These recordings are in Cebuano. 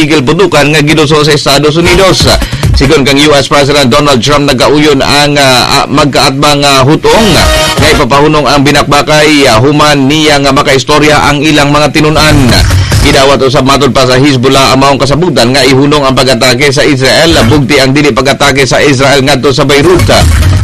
tigil putukan nga giduso sa Estados Unidos. Sigon kang US President Donald Trump, nagkauyon ang magkaatbang hutong nga ipapahunong ang binakbakay human niya nga makaistorya ang ilang mga tinun-an. Gidawat usab matod pa sa Hezbollah ang maong kasabutan nga ihunong ang pag-atake sa Israel, bugti ang dili pag-atake sa Israel ngadto sa Beirut.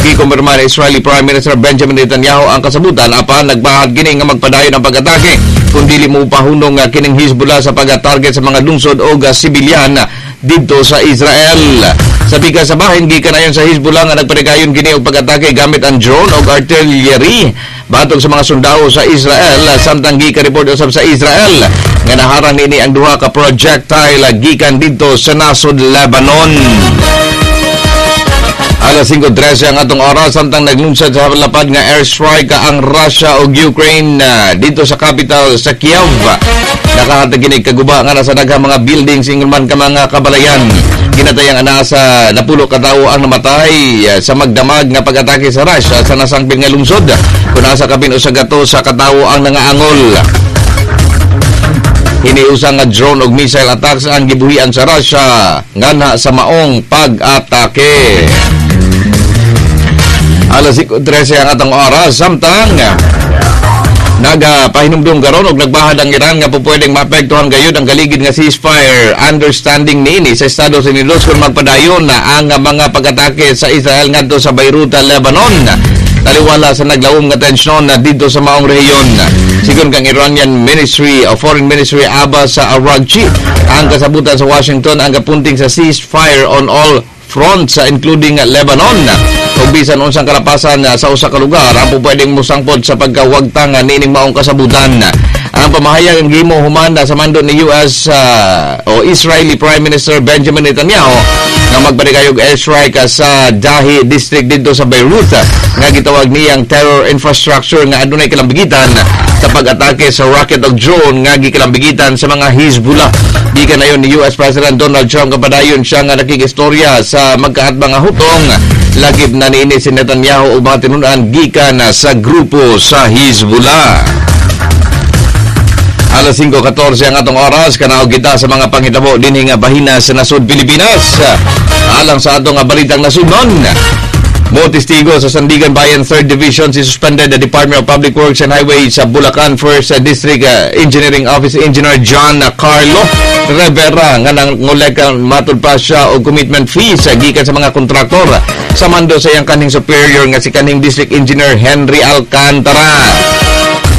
Gikumpirma ni Israeli Prime Minister Benjamin Netanyahu ang kasabutan, apan nagbahad kini nga magpadayon ang pag-atake kung dili mo pahunong nga kining Hezbollah sa pag-target sa mga lungsod o sibilyan didto sa Israel. Sa pikas sa bahin, gikan ayon sa Hezbollah nga nagpanigayon kini og pag-atake gamit ang drone og artillery batok sa mga sundao sa Israel, samtang gikan report usab sa Israel nga naharang nini ang duha ka projectile gikan didto sa nasod Lebanon. Alas 5:13 ang atong oras, samtang naglunsad sa lapad nga airstrike ang Russia ug Ukraine dito sa capital sa Kiev. Nakahatag kini kaguba nga nasa daghang mga buildings, ingon man ka mga kabalayan. Ginatayang anaa sa 10 ka tawo ang namatay sa magdamag nga pag-atake sa Russia sa nasangpit nga lungsod. Kung nasa kapin 100 sa katawo ang nangaangol. Hiniusa nga drone ug missile attacks ang gibuhian sa Russia nganha sa maong pag-atake. Alas 5:13 ang atong oras, samtang nagapahinumdum karon og nagbahad ang Iran nga pupwedeng maapektuhan gayud ang kaligid nga ceasefire understanding niini sa Estados Unidos kung magpadayon na ang mga pag-atake sa Israel ngadto sa Beirut, Lebanon, taliwala sa naglawom nga tensyon na dito sa maong rehiyon. Sigon kang Iranian Ministry of Foreign Ministry Abbas sa Araghchi, ang kasabutan sa Washington ang kapunting sa ceasefire on all fronts, including Lebanon, ug bisan unsang kalapasan sa usa ka lugar ang pupwedeng mosangpot sa pagkawagtang niining maong kasabutan. Ang pamahayag ang gihimo human sa mando ni US o Israeli Prime Minister Benjamin Netanyahu nga magpanikayog airstrike sa Dahi District didto sa Beirut nga gitawag niyang terror infrastructure nga adunay kalambigitan sa pag-atake sa rocket og drone nga gikalambigitan sa mga Hezbollah. Gikan ayon ni US President Donald Trump, kapadayon siya nga nakikistorya sa magkaatbang nga hutong, lagip na niini si Netanyahu ug mga tinun-an gikan sa grupo sa Hezbollah. Alas 5:14 ang atong oras, kanaog kita sa mga panghitabo dinhi nga bahina sa nasod Pilipinas. Alang sa atong nga balitang nasudnon, mo testigo sa Sandiganbayan 3rd Division si suspended the Department of Public Works and Highways sa Bulacan 1st District Engineering Office Engineer John Carlo Rivera nga nangolekta matud pa siya og commitment fees gikan sa mga kontraktor sa mando sa iyang kanhing superior nga si kanhing District Engineer Henry Alcantara.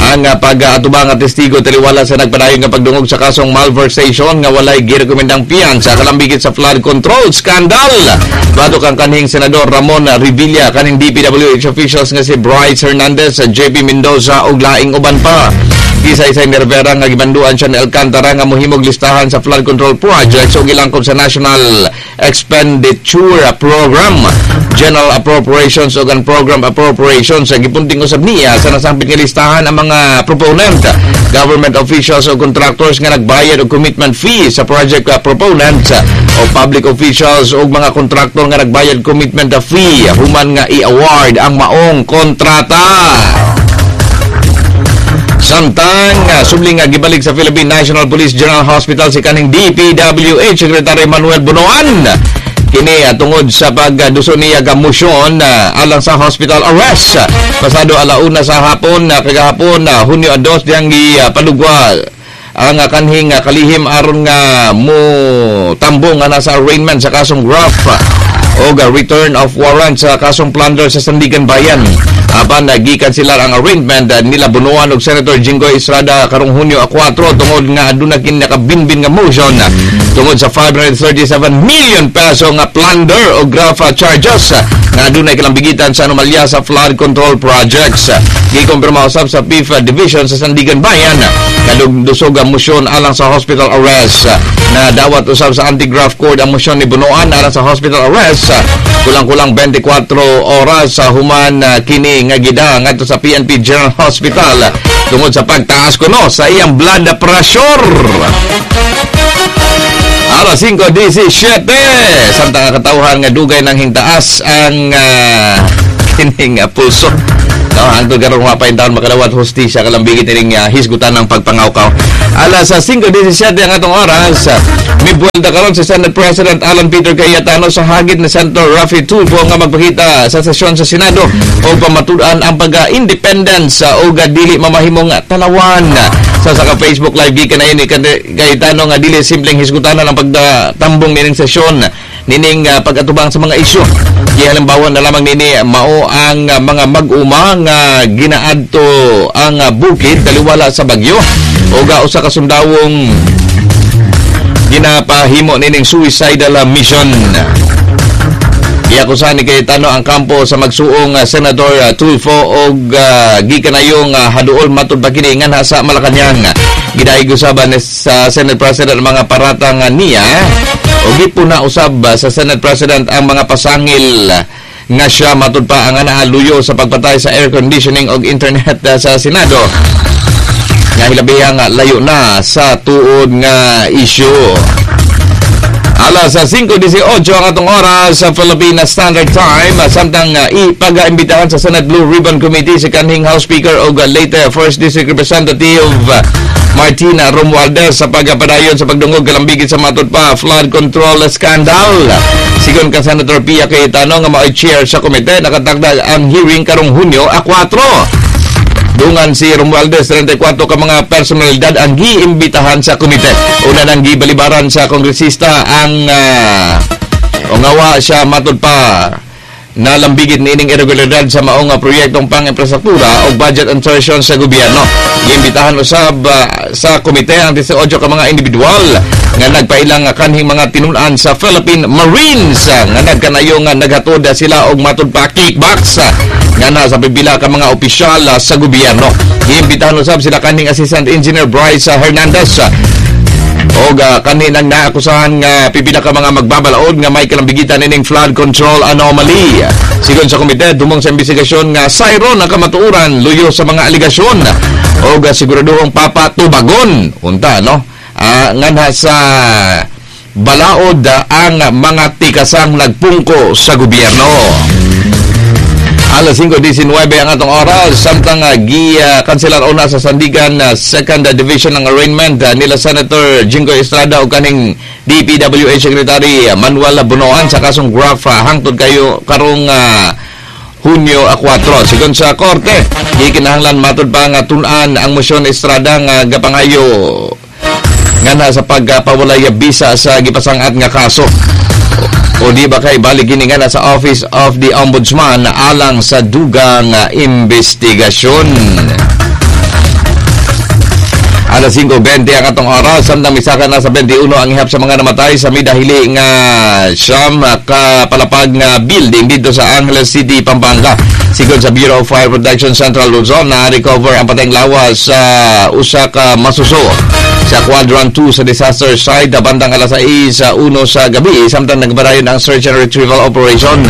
Ang pag-atubang nga testigo taliwala sa nagpadayon nga pagdungog sa kasong malversation nga walay girekomendang piyansa kalambigit sa flood control scandal. Batok ang kanhing Senador Ramon Revilla, kanhing DPWH officials nga si Bryce Hernandez, JP Mendoza ug laing uban pa. Gisaysay ni Rivera nga gimanduan siya ni Alcantara nga mohimog listahan sa flood control projects ug gilangkob sa National Expenditure Program, General Appropriations ug ang Program Appropriations. Gipunting usab niya sa nasangpit nga listahan ang mga proponent, government officials o contractors nga nagbayad og commitment fee sa project proponents o public officials o mga kontraktor nga nagbayad commitment fee human nga i-award ang maong kontrata. Samtang subling nga gibalik sa Philippine National Police General Hospital si kaning DPWH Secretary Manuel Bonoan. Kini tungod sa pagduso niya ga motion alang sa hospital arrest. Pasado 1:00 sa hapon kagahapon, Hunyo 2, diyang gipalugwa ang kanhing kalihim aron nga mo tambong nga nasa arraignment sa kasong graft o return of warrant sa kasong plunder sa Sandiganbayan. Apan gikan sila ang arraignment nila Bonoan og Senator Jinggoy Estrada karong Hunyo 4 tungod nga aduna kini nakabinbin nga motion tungod sa 537 million peso nga plunder o graft charges nga adunay kalambigitan sa anomalya sa flood control projects. Gikumpirma usab sa PIF Division sa Sandiganbayan nga dusog ang motion alang sa hospital arrest. Na dawat usab sa Anti-Graft Court ang motion ni Bonoan alang sa hospital arrest kulang-kulang 24 oras sa human kini nga gida ngadto sa PNP General Hospital tungod sa pagtaas kuno sa iyang blood pressure. Alas 5:17, samtang ang katawhan nga dugay nang hintaas ang kining pulso. No, hangtod karon wa pa taon makadawat hustisya kalambigit ining hisgutan ng pagpangawkaw. Alas sa 5:17 ang atong oras, mibuelta karon si Senate President Alan Peter Cayetano sa hagit ni Senator Raffy Tulfo nga magpakita sa sesyon sa Senado o pamatud-an ang pagka-independence o dili mamahimong talawan. Sa ka Facebook Live, gikan na ini Cayetano nga dili simpleng hisgutanan ang pagtambong nining sesyon nining pag-atubang sa mga isyu. Gihalimbawa na lamang nini mao ang mga mag-uma nga ginaadto ang bukid taliwala sa bagyo o ga usa ka sundawong ginapahimo nining suicidal mission. Giakusahan ni Cayetano ang kampo sa magsuong Senator Tulfo og gikanayong haduol matud pa kini nganha sa Malacañang. Gidayeg usab ni sa Senate President ang mga paratang niya o gipuna usab sa Senate President ang mga pasangil nga siya matud pa ang naaluyo sa pagpatay sa air conditioning og internet sa Senado nga hilabihang layo na sa tuod nga isyu. Alas sa 5:18 ang atong oras sa Philippine Standard Time, samtang ipag-imbitahan sa Senate Blue Ribbon Committee si kanhing House Speaker og Leyte First District Representative Martina Romualdez sa pagpadayon sa pagdungog kalambigit sa matud pa flood control scandal. Sigon ka Senator Pia Cayetano nga mao'y chair sa komite, nakatakda ang hearing karong Hunyo a 4. Dungan si Romualdez, 34 ka mga personalidad ang giimbitahan sa komite. Una nang gibalibaran sa kongresista ang ongawa siya matud pa nalambigit niining irregularidad sa maong proyektong pang-infrastruktura o budget insertion sa gobyerno. Giimbitahan usab sa komite ang 18 ka mga individual nga nagpailang kanhing mga tinun-an sa Philippine Marines nga nagkanayo nga naghatod sila og matud pa kickbacks nga na sa pipila ka mga opisyal sa gobyerno. Giimbitahan usab sila kanhing Assistant Engineer Bryce Hernandez og kaninang naakusahan nga pipila ka mga magbabalaod nga may kalambigitan nining flood control anomaly. Sigon sa komite, dumong sa investigasyon nga sayro na kamatuoran luyo sa mga aligasyon og siguraduhong papatubagon unta no nganha sa balaod ang mga tikasang nagpungko sa gobyerno. Alas 5:19 ang atong oras, samtang gi-kanselar una sa Sandigan Second Division ng arraignment nila Senator Jinggoy Estrada o kaning DPWH Secretary Manuel Bonoan sa kasong graft hangtod kayo karong Hunyo a 4. Sigon sa korte, gikinahanglan matud pa nga tun-an ang mosyon Estrada nga gapangayo ngana sa pagpawalay bisa sa gipasangat nga kaso. O di ba kay balik kini nga sa Office of the Ombudsman alang sa dugang investigasyon. Alas 5:20 ang atong oras, samtang misaka na sa 21 ang ihap sa mga namatay sa midahili nga 9 ka palapag nga building dito sa Angeles City, Pampanga. Sigon sa Bureau of Fire Protection Central Luzon, na recover ang patayng lawas sa usa ka masuso sa Quadrant 2 sa disaster site bandang alas 6:01 sa gabi, samtang nagpadayon ang search and retrieval operation.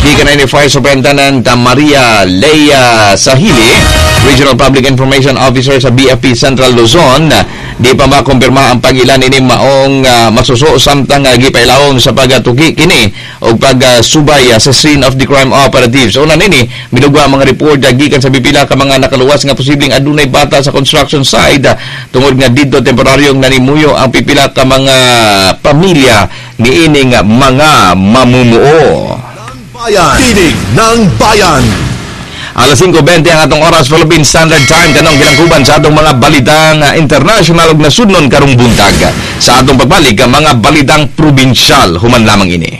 Gikan ni Fire Superintendent Maria Leia Sahili, Regional Public Information Officer sa BFP Central Luzon, di pa makumpirma ang pag-ilan ini maong masuso samtang gipailawom sa pagatuki kini og pagsubay sa scene of the crime operatives. Una nini midugwa ang mga report gikan sa pipila ka mga nakaluwas nga posibleng adunay bata sa construction site tungod nga didto temporaryong nanimuyo ang pipila ka mga pamilya niining mga mamumuo. Bayan. Tinig ng Bayan. Alas 5:20 ang atong oras Philippine Standard Time, kanong gilangkuban sa atong mga balitang international ug nasudnon karong buntag. Sa atong pagbalik, ang mga balitang probinsyal human lamang ini.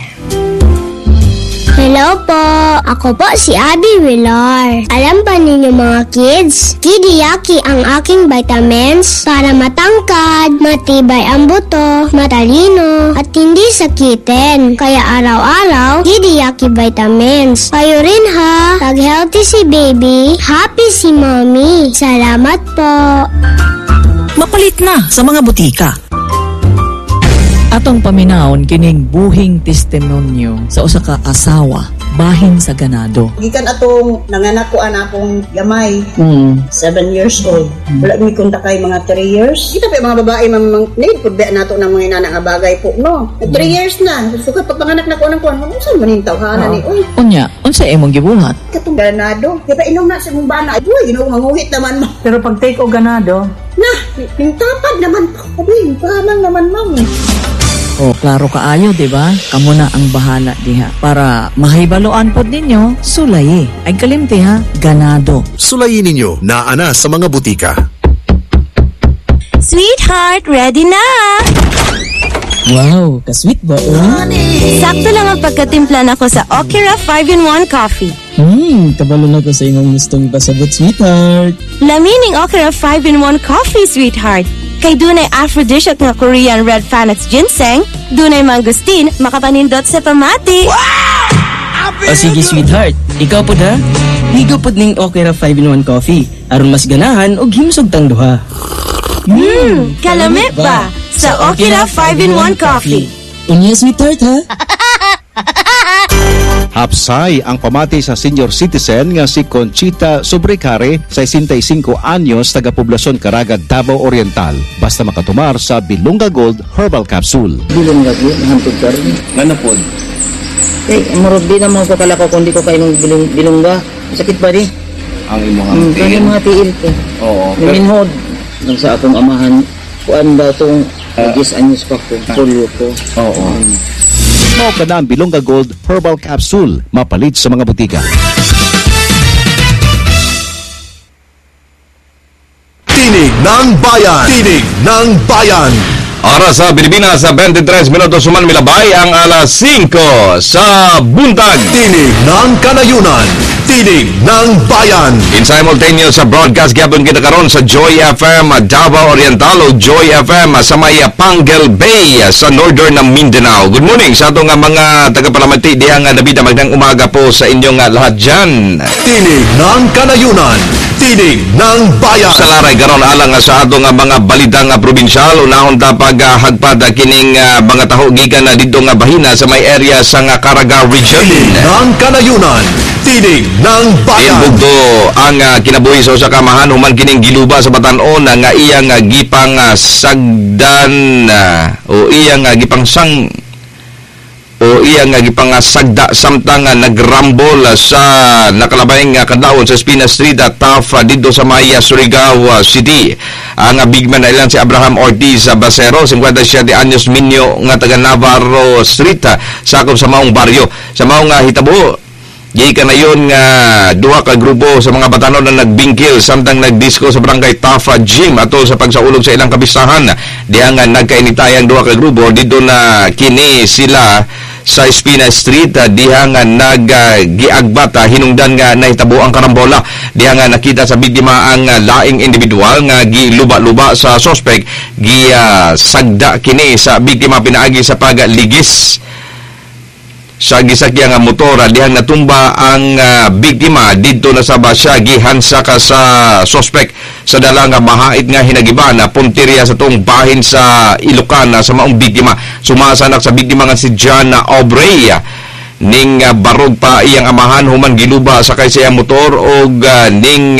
Hello po! Ako po si Abby Villar. Alam ba ninyo mga kids? Kidiyaki ang aking vitamins para matangkad, matibay ang buto, matalino, at hindi sakitin. Kaya araw-araw, Kidiyaki vitamins. Kayo rin ha! Pag healthy si baby, happy si mommy. Salamat po! Mapalit na sa mga butika. Atong paminawon kining buhing testimonyo sa usa ka asawa Bahin sa ganado. Gikan atong nanganak ko anakong gamay. 7 years old. Wala mi konta kay mga 3 years. Kita pa yung mga babae, ma'am, need pud ba nato ng mga inana nga bagay po, no? 3 years na. Sukat pagpanganak na ko ng kuan, unsa man ning tawhana ni? Uy, Unya, unsa imong gibuhat? Katong ganado. Di ba inom na sa imong bana? Uy, Ginoo, manguhit naman mo. Pero pag take og ganado, Na, yung tapad naman po. Uy, pahamang naman, ma'am. Oh, klaro kaayo, di ba? Kamo na ang bahala diha. Para mahibaluan pod ninyo, sulayi. Ay kalimti ha, ganado. Sulayin ninyo na ana sa mga butika. Sweetheart, ready na! Wow, ka-sweet ba oh? Sakto lang ang pagkatimpla nako sa Okira 5-in-1 coffee. Kabalo na ko sa imong gustong ipasabot, sweetheart. Lami ning Okira 5-in-1 coffee, sweetheart. Kay dunay aphrodisiac nga Korean red Panax ginseng, dunay mangosteen, makapanindot sa pamati. O sige, sweetheart. Ikaw po ha? Ligo pod ning Okra 5-in-1 coffee. Aron mas ganahan og himsog tang duha. Kalami ba? Sa Okira 5-in-1 coffee. Unya, sweetheart, ha? Hapsay ang pamati sa senior citizen nga si Conchita Sobrecare, 65 anyos, taga Poblasyon Caraga, Davao Oriental. Basta makatumar sa Bilonga Gold Herbal Capsule. Bilong lagi, mahantog ka rin. Ngano pod? Eh, murag di naman ko kalakaw kung di ko kainom bilongga. Sakit ba di? Ang imong Kani mga tiil ko. Oo. Naminhod. Nang sa akong amahan, kuan ba itong 10 anyos pa ko, polio ko. Oo. Mao ka na ang Bilonga Gold Herbal Capsule. Mapalit sa mga butika. Tinig ng Bayan. Tinig ng Bayan. Oras sa Pilipinas sa 23 minutos human milabay ang alas 5 sa buntag. Tinig ng Kanayunan. Tinig ng Bayan. In simultaneous sa broadcast gyapon kita karon sa Joy FM Davao Oriental o Joy FM sa may Panguil Bay sa northern ng Mindanao. Good morning sa atong mga tagapalamati diha nga nabida. Magandang umaga po sa inyong lahat dyan. Tinig ng Kanayunan. Tinig ng Bayan. Sa laray karon alang nga sa atong mga balitang probinsyal, unahon ta paghagpad kining mga taho gikan na didto nga bahina sa may area sa nga Caraga Region. Tinig ng Kanayunan. Tinig ng Bayan. Inbugto ang kinabuhi sa usa ka amahan human kining giluba sa batan-on nga iyang gipang sagdan o iyang gipang sang o iyang gipang sagda samtang nagrambol sa nakalabay nga kadlawon sa Espina Street at Taft didto sa may Surigao City. Ang big man na ilang si Abraham Ortiz Basero, 57 anyos, minyo nga taga Navarro Street, sakop sa maong baryo. Sa maong hitabo, gikan na yun nga duha ka grupo sa mga batanon na nagbingkil samtang nagdisco sa barangay Tafa Gym atol sa pagsaulog sa ilang kapistahan. Diha nga nagkainitayang duha ka grupo didto na kini sila sa Espina Street, diha nga naggiagbat hinungdan nga nahitabo ang karambola. Diha nga nakita sa biktima ang laing individual nga giluba-luba sa suspect. Gisagda kini sa biktima pinaagi sa pagligis sa gisakyan nga motor. Dihang natumba ang biktima, didto na saba siya gihansa ka sa suspect sa dala nga mahait nga hinagiban na punteriya sa tong bahin sa Ilocana sa maong biktima. Sumasanak sa biktima nga si John Aubrey, ning barog pa iyang amahan human giluba sakay sa iyang motor og ning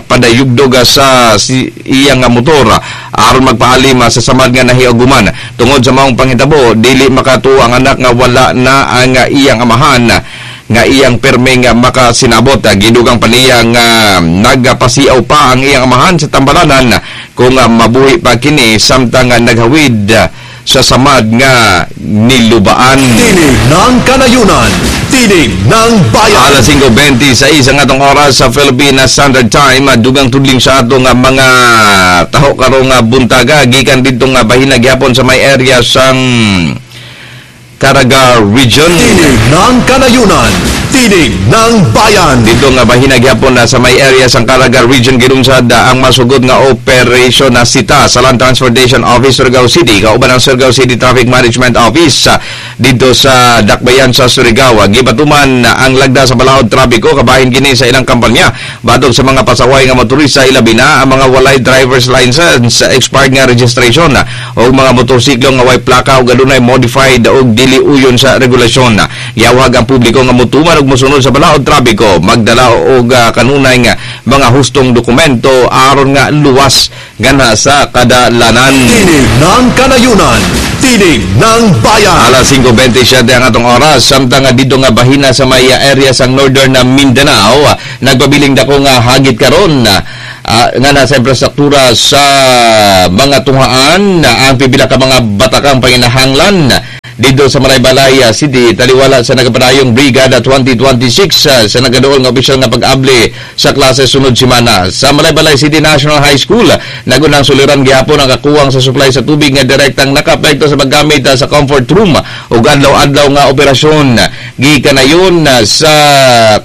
padayugdog sa iyang motor aron magpaalim sa samad nga nahiaguman. Tungod sa maong panghitabo, dili makatuo ang anak nga wala na ang iyang amahan nga iyang perme nga makasinabot. Gidugang pa niya nga nagpasiaw pa ang iyang amahan sa tambalanan kung mabuhi pa kini samtang naghawid sa samad nga nilubaan. Tinig ng Kanayunan. Tinig ng Bayan. Alas 5:26 ang atong oras sa Philippine Standard Time. Dugang tudling sa atong mga taho karong buntaga gikan didto nga bahina gyapon sa may area sang Caraga Region. Tinig ng Kanayunan. Tinig ng Bayan. Dito nga bahina gyapon na sa may area sang Caraga Region, gilunsad ang masugot nga operation na sita sa Land Transportation Office Surigao City kauban ang Surigao City Traffic Management Office dito sa Dakbayan sa Surigao. Gibatuman ang lagda sa balaod trapiko kabahin kini sa ilang kampanya batok sa mga pasaway nga motorista, ilabi na ang mga walay driver's license, expired nga registration o mga motorsiklo nga way plaka o adunay modified o dili uyon sa regulasyon. Giawhag ang publiko nga motuman og ug mosunod sa balaod trapiko magdala og kanunay nga mga hustong dokumento aron nga luwas gana sa kadalanan. Tinig ng Kanayunan, Tinig ng Bayan. Alas 5:27 ang atong oras, samtang nga didto nga bahina sa may area sang Northern Mindanao, nagpabiling dako nga hagit karon nga nasa infrastruktura sa mga tungaan ang pipila ka mga batakang panginahanglan dito sa Malaybalay City, taliwala sa nagapadayong Brigada 2026 sa nagaduol nga opisyal nga pag-abli sa klase sunod semana. Sa Malaybalay City National High School, nagunang suliran gihapon ang kakuwang sa supply sa tubig nga direktang nakaapekto sa paggamit sa comfort room ug adlaw-adlaw nga operasyon. Gikanayon sa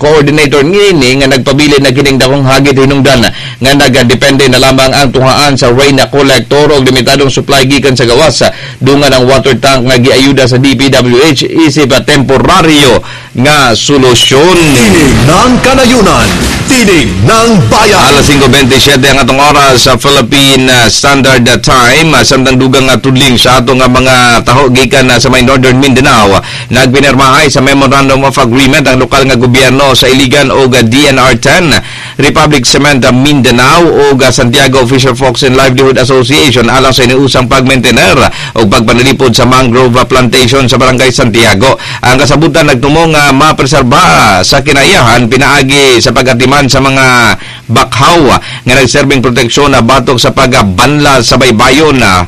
coordinator niini nga nagpabilin na kining dakong hagit hinungdan nga nagadepende na lamang ang tungaan sa rain collector og limitadong supply gikan sa gawas dungan ang water tank nga giayuda sa DPWH isip temporaryo nga solusyon. Tinig ng Kanayunan, Tinig ng Bayan. Alas 5:27 ang atong oras sa Philippine Standard Time, samtang dugang nga tudling sa atong nga mga taho gikan sa may Northern Mindanao, nagpinirmahay sa Memorandum of Agreement ang lokal nga gobyerno sa Iligan og DNR 10, Republic Cement Mindanao ug Santiago Fisher Folks and Livelihood Association alang sa iniusang pagmaintener ug pagpanalipod sa mangrove plantation sa Barangay Santiago. Ang kasabutan nagtumo nga mapreserba sa kinayahan pinaagi sa pagatiman sa mga bakhaw nga nagserbing proteksyon na batok sa pagbanla sa baybayon na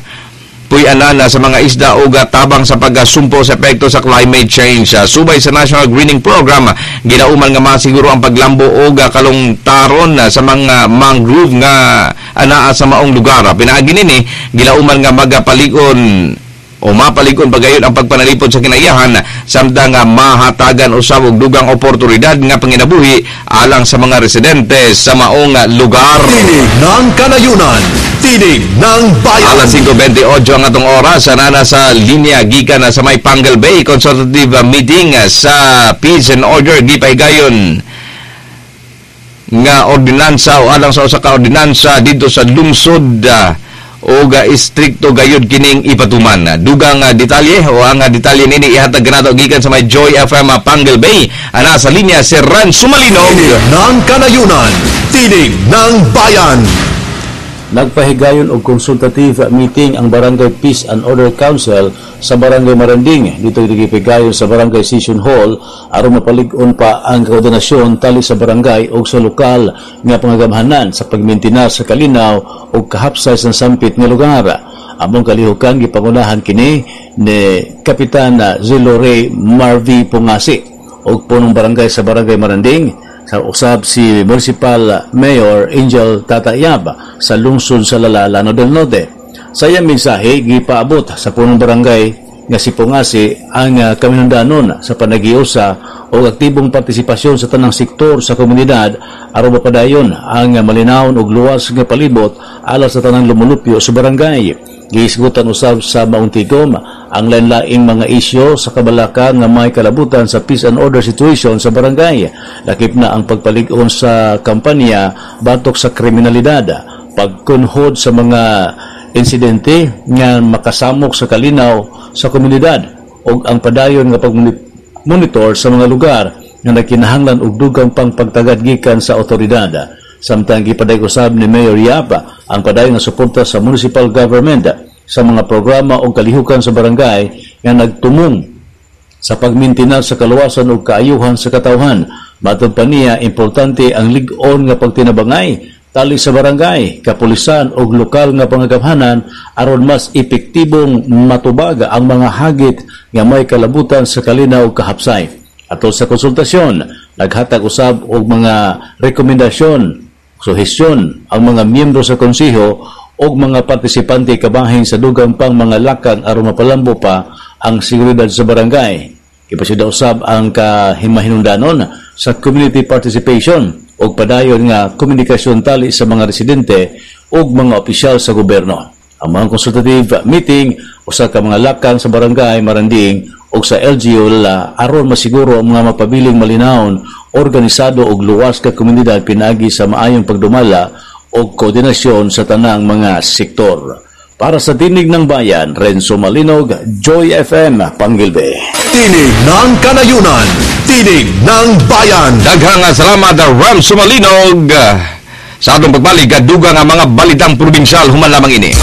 puy-anan sa mga isda o tabang sa pagsumpo sa epekto sa climate change. Subay sa National Greening Program, ginauman nga masiguro ang paglambo o kalungtaron sa mga mangrove nga anaa sa maong lugar. Pinaagi nini, ginauman nga magapalikon o mapalikon pagayon ang pagpanalipod sa kinayahan samtang mahatagan usab og dugang oportunidad nga panginabuhi alang sa mga residente sa maong lugar. Tinig ng Kanayunan, Tinig ng Bayan. Alas 5:28 ang atong oras, anana sa linya gikan sa may Pangal Bay consultative meeting sa Peace and Order gipahigayon nga ordinansa o alang sa usa ka ordinansa dito sa lungsod o istrikto gayud kining ipatuman. Dugang detalye o ang detalye nini ihatag kanato gikan sa may Joy FM Pangal Bay. Ana sa linya si Ran Sumalinog. Tinig ng Kanayunan, Tinig ng Bayan. Nagpahigayon og consultative meeting ang Barangay Peace and Order Council sa Barangay Maranding. Dito gipigayon sa Barangay Session Hall aron mapalig-on pa ang koordinasyon tali sa barangay og sa lokal nga pangagamhanan sa pagmintina sa kalinaw og kahapsay sa sampit nga lugar. Among kalihukan gipangunahan kini ni Kapitan Zelo Ray Marvi Pungasi og punong barangay sa Barangay Maranding sa usab si Municipal Mayor Angel Tatayab sa lungsod sa Lala, Lanao del Norte. Sa iyang mensahe, gipaabot sa punong barangay nga si Pungasi ang kaminundanon sa panagiusa o aktibong partisipasyon sa tanang sektor sa komunidad aron mapadayon ang malinawon og luwas nga palibot alang sa tanang lumulupyo sa barangay. Gihisgutan usab sa maong tigom ang lain-laing mga isyo sa kabalaka nga may kalabutan sa peace and order situation sa barangay. Lakip na ang pagpalig-on sa kampanya batok sa kriminalidad, pagkunhod sa mga insidente nga makasamok sa kalinaw sa komunidad ug ang padayon nga pagmonitor sa mga lugar nga nagkinahanglan og dugang pang pagtagad gikan sa otoridad. Samtang gipaday usab ni Mayor Yap ang padayon nga suporta sa municipal government sa mga programa o kalihukan sa barangay nga nagtumong sa pagmintina sa kaluwasan ug kaayuhan sa katawhan. Matod pa niya, importante ang lig-on nga pagtinabangay tali sa barangay, kapulisan ug lokal nga pangagamhanan aron mas epektibong matubag ang mga hagit nga may kalabutan sa kalinaw ug kahapsay. Atol sa konsultasyon, naghatag usab og mga rekomendasyon, suhestyon ang mga miyembro sa konseho og mga partisipante kabahin sa dugang pang mga lakang aron mapalambo pa ang seguridad sa barangay. Ipasida usab ang kahimahinungdanon sa community participation og padayon nga komunikasyon tali sa mga residente ug mga opisyal sa gobyerno. Ang mga consultative meeting usa ka mga lakang sa barangay Maranding ug sa LGU Lala aron masiguro ang mga mapabiling malinawon, organisado ug luwas ka komunidad pinaagi sa maayong pagdumala og koordinasyon sa tanang mga sektor. Para sa Tinig ng Bayan, Renzo Malinog, Joy FM, Panguilbe. Tinig ng Kanayunan, Tinig ng Bayan. Daghang salamat, Renzo Malinog. Sa atong pagbalik, dugang ang mga balitang probinsyal, human lamang ini.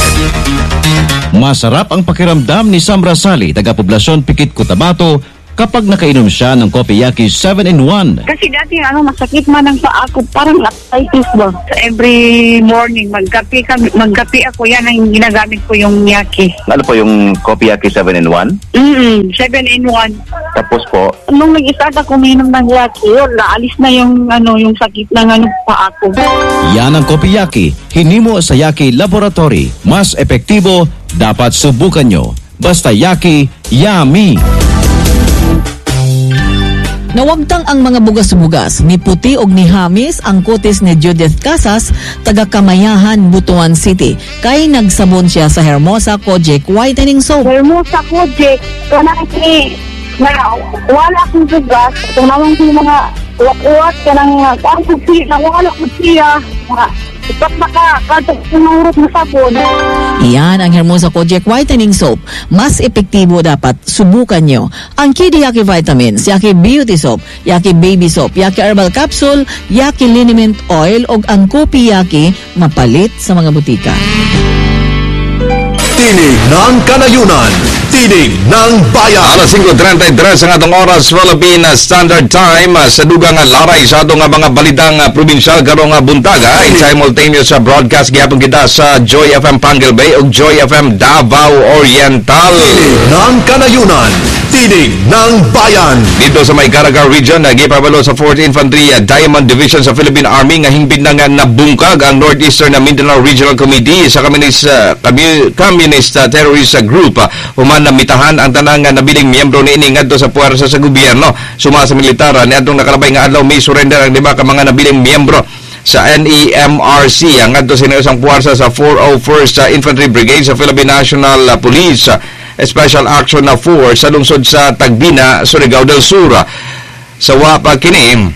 Masarap ang pakiramdam ni Sam Rasali, taga-poblasyon Pikit, Cotabato, kapag nakainom siya ng Kopiyaki 7-in-1. Kasi dati ano, masakit man ang paa ko, parang arthritis ba. So, every morning, magkape, kami, magkape ako, yan ang ginagamit ko yung yaki. Ano po yung Kopiyaki 7-in-1? 7-in-1. Tapos po? Nung nag-start ako uminom ng yaki, yun, naalis na yung, ano, yung sakit ng ano, paa ko. Yan ang Kopiyaki, hinimo sa Yaki Laboratory. Mas epektibo, dapat subukan nyo. Basta Yaki, yummy! Nawagtang ang mga bugas-bugas, ni Puti og ni Hamis ang kutis ni Judith Casas, taga Kamayahan, Butuan City. Kay nagsabon siya sa Hermosa Kojic Whitening Soap. Hermosa Kojic, kanang na wala akong bugas, itong nawang ko mga uwat-uwat, kanang ang siya, nawala ko siya, mga ipat na ka, kadto sinurot na sabon. Iyan ang Hermosa Kojic Whitening Soap. Mas epektibo dapat subukan nyo. Ang Kidi Yaki Vitamins, Yaki Beauty Soap, Yaki Baby Soap, Yaki Herbal Capsule, Yaki Liniment Oil o ang Kopi Yaki mapalit sa mga butika. Tinig ng Kanayunan, Tinig ng Bayan. Alas 5:33 ang atong oras, Philippine Standard Time, sa dugang laray sa atong mga balitang probinsyal karong buntaga. In simultaneous sa broadcast gihapon kita sa Joy FM Panguil Bay ug Joy FM Davao Oriental. Tinig ng Kanayunan, Tinig ng Bayan. Dito sa may Caraga Region, gipabalo sa 4th Infantry Diamond Division sa Philippine Army nga hingpit na nga nabungkag ang Northeastern Mindanao Regional Committee sa Communist Terrorist Group. Human namitahan ang tanang nabiling miyembro niini ngadto sa puwersa sa gobyerno. Suma sa militar, niadtong nakalabay nga adlaw may surrender ang 5 ka mga nabiling miyembro sa NEMRC ang ngadto sa isang puwersa sa 401st Infantry Brigade sa Philippine National Police Special Action na Force sa lungsod sa Tagbina, Surigao del Sur. Sa wapa kini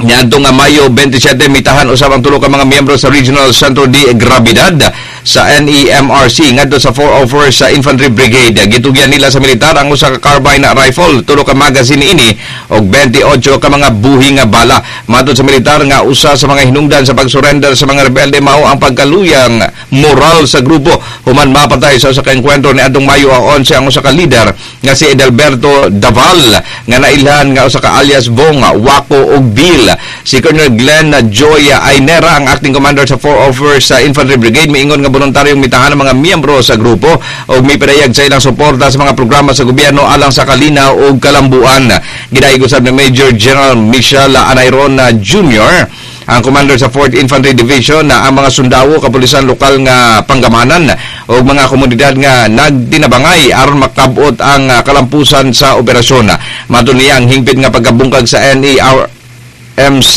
niadtong Mayo 27, mitahan usab ang tulo ka mga miyembro sa Regional Centro de Gravidad sa NEMRC ngadto sa 401st sa Infantry Brigade. Gitugyan nila sa militar ang usa ka carbine rifle, tulo ka magazine ini og 28 ka mga buhi nga bala. Matod sa militar nga usa sa mga hinungdan sa pagsurrender sa mga rebelde mao ang pagkaluyang moral sa grupo human mapatay sa usa ka engkwentro niadtong Mayo 11 ang usa ka leader nga si Edelberto Daval nga nailhan nga usa ka alias Bong, Wako ug Bill. Si Colonel Glenn Joy Ainera, ang acting commander sa 401st Infantry Brigade, miingon nga voluntaryong mitahan ang mga miyembro sa grupo og mipadayag sa ilang suporta sa mga programa sa gobyerno alang sa kalinaw ug kalambuan. Gidayeg usab ni Major General Michel Anairon Jr., ang commander sa 4th Infantry Division, na ang mga sundao, kapulisan lokal nga panggamanan o mga komunidad nga nagtinabangay aron makabot ang kalampusan sa operasyon. Matod niya ang hingpit nga pagkabungkag sa NERMC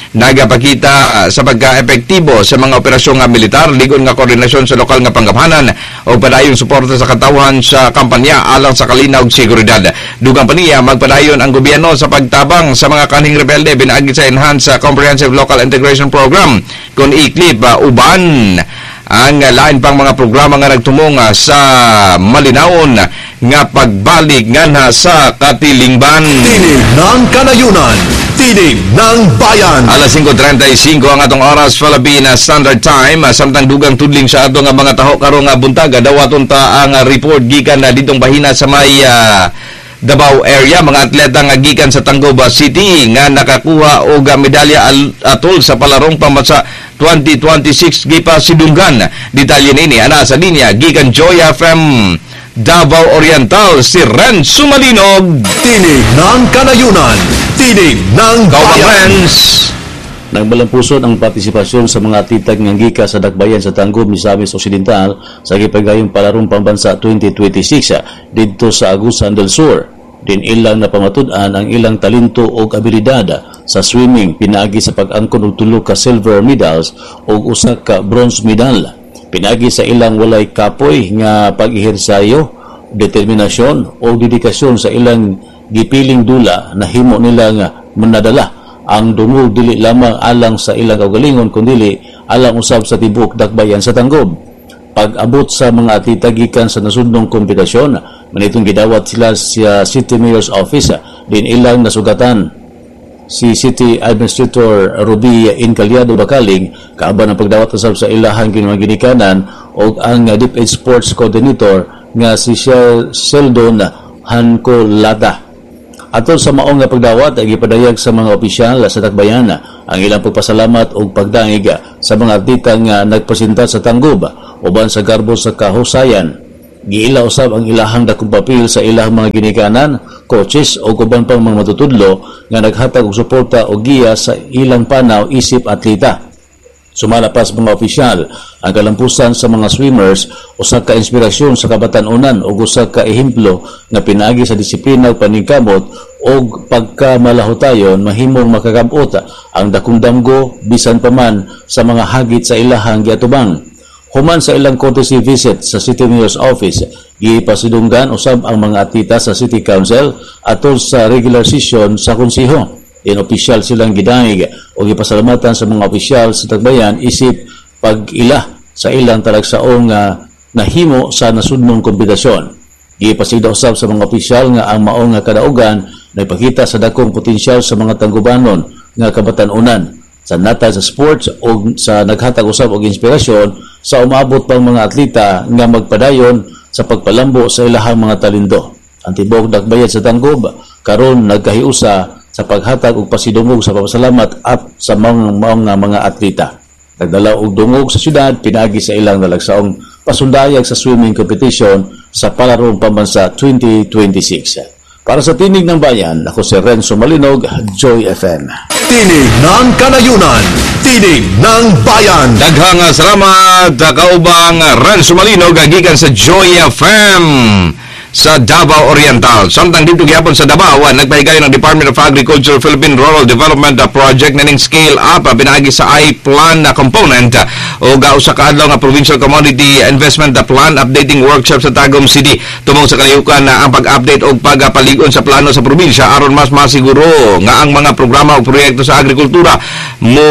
nagapakita sa pagka-epektibo sa mga operasyon nga militar, ligon nga koordinasyon sa lokal nga panggamhanan o padayong suporta sa katawhan sa kampanya alang sa kalinaw ug seguridad. Dugang pa niya, magpadayon ang gobyerno sa pagtabang sa mga kanhing rebelde pinaagi sa Enhanced Comprehensive Local Integration Program kun iklip uban ang lain pang mga programa nga nagtumong sa malinawon nga pagbalik nganha sa katilingban. Tinig ng Kanayunan, Tinig ng Bayan. Alas 5:35 ang atong oras, Philippine Standard Time. Samtang dugang tudling sa atong mga taho karong buntaga, dawaton ta ang report gikan na ditong bahina sa may Davao area, mga atleta nga gikan sa Tangoba City nga nakakuha og medalya atol sa palarong pambansa 2026 gipa sidunggan. Detalye nini ana sa linya gikan Joy FM Davao Oriental, si Ren Sumalinog. Tinig ng Kanayunan, Tinig ng Bayan. Nagbalampuson ang partisipasyon sa mga atleta nga gikan sa dakbayan sa Tangub, Misamis Occidental sa gipagayong palarong pambansa 2026 didto sa Agusan del Sur. Din ilang napamatud-an ang ilang talento ug abilidad sa swimming pinaagi sa pag-angkon og tulo ka silver medals ug usa ka bronze medal. Pinaagi sa ilang walay kapoy nga pag-ehersayo, determinasyon o dedikasyon sa ilang gipiling dula, nahimo nila nga manadala ang dungog dili lamang alang sa ilang kaugalingon kundili alang usab sa tibuok dakbayan sa Tanggob. Pag-abot sa mga atleta gikan sa nasudnong kompetisyon, manitong gidawat sila sa City Mayor's Office din ilang nasugatan. Si City Administrator Ruby Incaliado Bakaling kaaban ang pagdawat usab sa ilahang ginikanan og ang DepEd Sports Coordinator nga si Sheldon Hancolata. Atol sa maong nga pagdawat ay gipadayag sa mga opisyal sa Dakbayan ang ilang pagpasalamat og pagdangig sa mga atleta nga nagpresenta sa Tanggob uban sa garbo sa kahusayan. Giila usab ang ilahang dakong papel sa ilang mga ginikanan, coaches o uban pang mga matutudlo nga naghatag og suporta o giya sa ilang panaw isip atleta. Sumala pa sa mga opisyal, ang kalampusan sa mga swimmers usa ka inspirasyon sa kabatan-unan ug usa ka ehemplo nga pinaagi sa disiplina ug paningkamot ug pagkamalahutayon mahimong makakabot ang dakong damgo bisan pa man sa mga hagit sa ilahang giatubang. Human sa ilang courtesy visit sa City Mayor's Office, gipasidunggan usab ang mga atleta sa City Council atol sa regular session sa konseho. In opisyal silang gidangig o gipasalamatan sa mga opisyal sa Tagbayan isip pag-ila sa ilang talagsaong nahimo sa nasudnong kompetisyon. Gipasigda usab sa mga opisyal nga ang maong nga kadaugan nagpakita sa dakong potensyal sa mga Tanggubanon nga kabatan-unan sa natad sa sports o sa naghatag usab og inspirasyon sa umaabot pang mga atleta nga magpadayon sa pagpalambo sa ilahang mga talento. Ang tibuok Dakbayan sa Tanggob karon nagkahiusa sa paghatag og pasidungog sa papasalamat at sa mga atleta. Nagdala og dungog sa syudad pinaagi sa ilang nalagsaong pasundayag sa swimming competition sa Palarong Pambansa 2026. Para sa Tinig ng Bayan, ako si Renzo Malinog, Joy FM. Tinig ng Kanayunan, Tinig ng Bayan. Daghang salamat kaubang Renzo Malinog gikan sa Joy FM sa Davao Oriental. Samtang dito gihapon sa Davao, nagpahigayon ang Department of Agriculture Philippine Rural Development Project na ning scale up pinaagi sa iPlan na component o usa ka adlaw nga Provincial Commodity Investment Plan updating workshop sa Tagum City tumong sa kalihukan na ang pag-update og pagpalig-on sa plano sa probinsya aron mas masiguro nga ang mga programa o proyekto sa agrikultura mo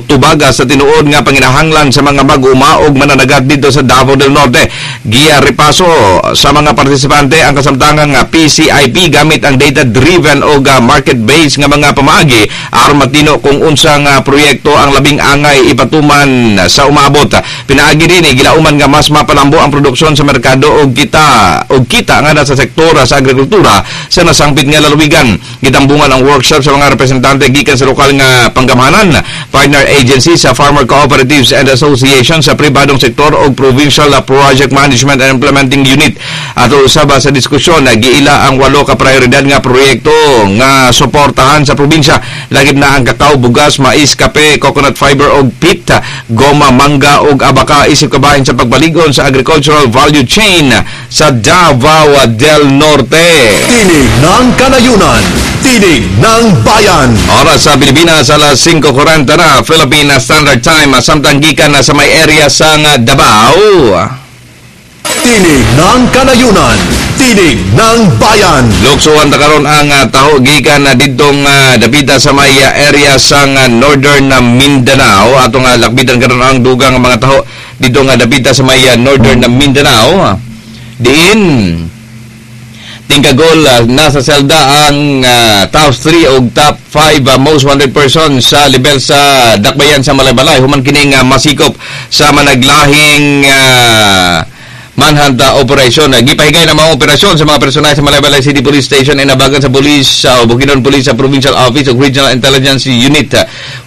tubaga sa tinuod nga panginahanglan sa mga mag-uma og mananagat dito sa Davao del Norte. Giya repaso sa mga partisipante ang kasamtangang PCIP gamit ang data-driven o market-based nga mga pamaagi aron matino kung unsang proyekto ang labing angay ipatuman sa umaabot. Pinaagi din gilauman nga mas mapalambo ang produksyon sa merkado og kita nga sa sektor sa agrikultura sa nasangpit nga lalawigan. Gitambungan ang workshop sa mga representante gikan sa lokal nga panggamhanan, partner agency sa farmer cooperatives and association sa pribadong sektor og provincial project management and implementing unit. Ato usab sa diskusyon giila ang 8 ka prioridad nga proyekto nga suportahan sa probinsya, lagip na ang kakao, bugas, mais, kape, coconut fiber og pit, goma, mangga og abaka isip kabahin sa pagbalig-on sa agricultural value chain sa Davao del Norte. Tinig ng Kanayunan, Tinig ng Bayan. Oras sa Pilipinas alas 5:40 na Philippine Standard Time, samtang gikan na sa may area sa Davao. Tinig ng Kanayunan, Tinig ng Bayan. Luksuan ta karon ang taho gikan na didtong dapita sa may area sa Northern Mindanao. Atong lakbitan karon ang dugang mga taho didtong dapita sa may Northern Mindanao. Diin Tingkagol nasa selda ang top 3 og top 5 most wanted person sa level sa Dakbayan sa Malaybalay human kining masikop sa managlahing manhunt operation. Gipahigay na mga operasyon sa mga personahe sa Malaybalay City Police Station ay nabagan sa police sa Bukidnon Police sa Provincial Office ug Regional Intelligence Unit.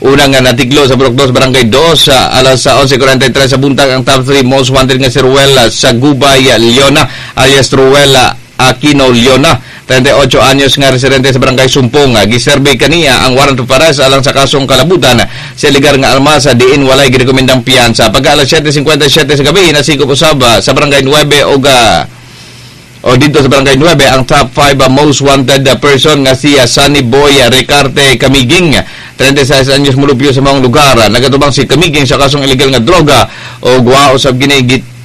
Unang natiklo sa Burok 2, Barangay 2 alas 11:43 sa buntag ang top 3 most wanted nga si Ruel sa Gubay Leona alias Ruel Aquino Leona, 38 anyos nga residente sa Barangay Sumpong. Giserbe kaniya ang warrant of arrest alang sa kasong kalabutan sa ligar nga Almasa diin walay girekomendang piyansa. Pagka alas 7:57 sa gabi nasikop usab sa Barangay 9 og o dito sa Barangay 9 ang top 5 most wanted person nga si Sunny Boy Ricarte Kamiging, 36 anyos mulupyo sa maong lugar. Nagatubang si Kamiging sa kasong illegal nga droga o guwao sa ginigit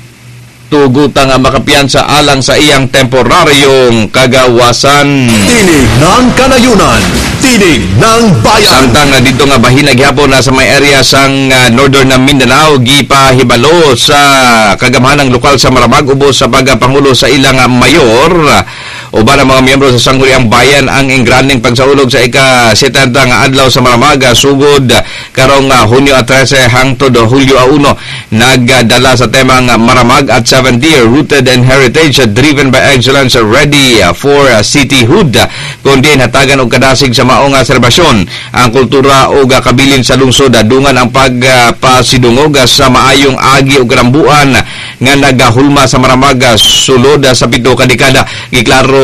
tugutan nga makapiyansa alang sa iyang temporaryong kagawasan. Tinig ng Kanayunan, Tinig ng Bayan. Samtang dito nga bahina gihapon na sa may area sang Northern na Mindanao, gipahibalo sa kagamhanang lokal sa Maramag ubos sa pagpangulo sa ilang mayor uban ang mga miyembro sa Sangguniang Bayan ang engrandeng pagsaulog sa ika-70 nga adlaw sa Maramag sugod karong Hunyo 13 hangtod Hulyo 1, nagdala sa temang "Maramag at 70, Rooted in Heritage, Driven by Excellence, Ready for Cityhood," kundi hatagan og kadasig sa maong selebrasyon ang kultura ug kabilin sa lungsod, dungan ang pagpasidungog sa maayong agi ug kalambuan nga nagahulma sa Maramag sulod sa 7 ka dekada. Giklaro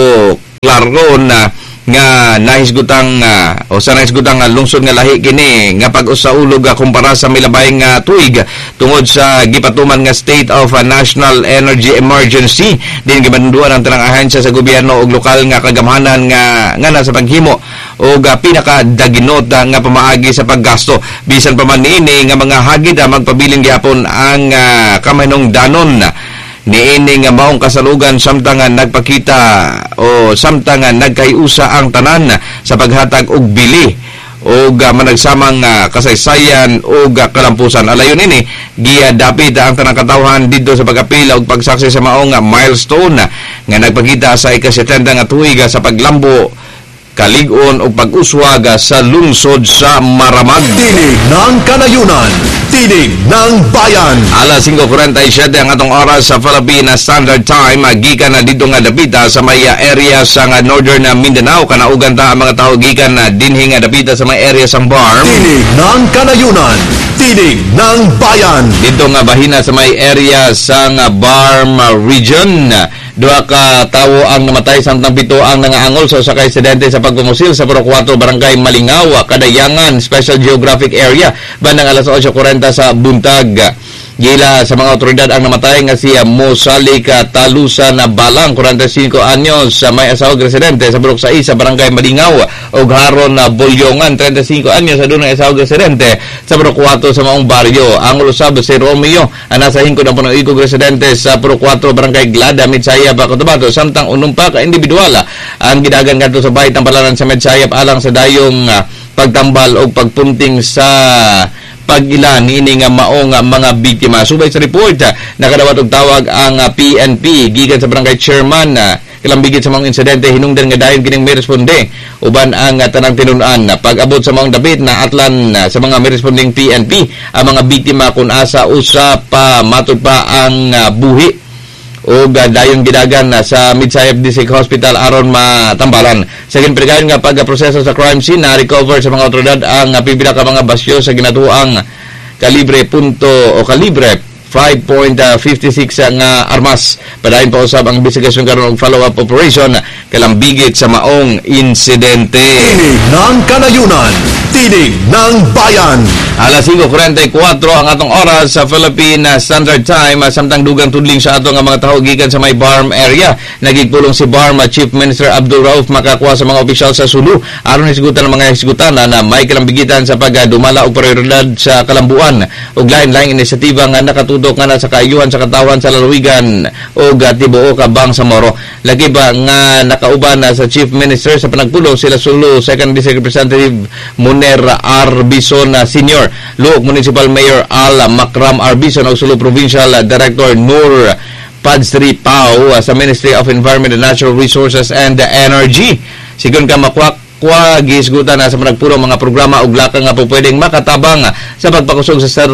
klaro na nga nahisgutang o sa nahisgutang lungsod nga lahi kini nga pag-usaulog kumpara sa milabay nga tuig tungod sa gipatuman nga state of national energy emergency, din gimanduan ang tanang ahensya sa gobyerno ug lokal nga kagamhanan nga nga sa paghimo og pinakadaginot nga pamaagi sa paggasto. Bisan pa man niini nga mga hagid, magpabilin gihapon ang kamahinungdanon niini nga maong kasalugan samtang nagpakita o samtang nagkayusa ang tanan sa paghatag og bili og managsamang kasaysayan og kalampusan. Alayon ini giadapit ang tanang katawhan didto sa pagapila og pagsaksi sa maong milestone nga nagpakita sa ika-70 nga tuig sa paglambo, kalig-on o pag-uswag sa lungsod sa Maramag. Tinig ng Kanayunan, Tinig ng Bayan. Alas 5:47 ang atong oras sa Philippine Standard Time. Gikan na dito nga dapita sa may area sa nga Northern Mindanao. Kanaugan ta ang mga tao gikan na dinhi nga dapita sa may area sa Barm. Tinig ng Kanayunan, Tinig ng Bayan. Dito nga bahina sa may area sa Barm region, duha ka tawo ang namatay samtang 7 ang nangaangol sa usa ka insidente sa pagpumusil sa Purok 4, Barangay Malingaw, Kadayangan, Special Geographic Area bandang alas 8:40 sa buntag. Gila sa mga otoridad ang namatay nga si Mosalika Talusan na Balang, 45 anyos, sa may asawag residente sa Purok 6 sa Barangay Malingaw, ug Haron na Bolyongan, 35 anyos, sa dunay asawag residente sa Purok 4 sa maong baryo. Ang usab si Romeo ang nasa hingkod ang puno-ikog residente sa Purok 4, Barangay Glada, Midsayap, Cotabato, samtang unom pa ka individual ang gidagan ngadto sa bahay tampalanan sa Midsayap alang sa dayong pagtambal og pagpunting sa pag-ila niini nga maong mga biktima. Subay sa report, nakadawat og tawag ang PNP gikan sa barangay chairman kalambigit sa mga insidente, hinungdan nga dayon kining may responde uban ang tanang tinun-an. Pag-abot sa maong dapit na atlan sa mga may responding PNP ang mga biktima kung asa usa pa matud pa ang buhi o dayon gidagan sa Midsayap District Hospital aron matambalan. Sa ginpregayon nga pagproseso sa crime scene, na-recover sa mga otoridad ang pipila ka mga basyo sa ginatuang kalibre punto o kalibre 5.56 nga armas. Padayon pa usab ang investigasyon karon og follow-up operation kalambigit sa maong insidente. Tinig ng Kanayunan, Tinig ng Bayan. Alas 5:44 ang atong oras sa Philippine Standard Time, samtang dugang tudling sa atong mga tawo gikan sa may Barm area. Nagigpulong si Barm Chief Minister Abdul Rauf makakuha sa mga opisyal sa Sulu aron hisgutan ang mga hisgutan na may kalambigitan sa pagdumala og prioridad sa kalambuan ug lain-laing inisyatiba nga nakatutok nga sa kaayuhan sa katawhan sa lalawigan ug tibuok ka Bangsamoro. Lagi ba nga nakauban na sa Chief Minister sa panagpulong sila Sulu Second District Representative Muner Arbison Senior, Luok Municipal Mayor Al Makram Arbison ug Sulu Provincial Director Nur Padsri Pau sa Ministry of Environment and Natural Resources and Energy. Sigon ka makwakwa, gihisgutan na sa panagpulong mga programa ug lakang nga po pwedeng makatabang sa pagpakusog sa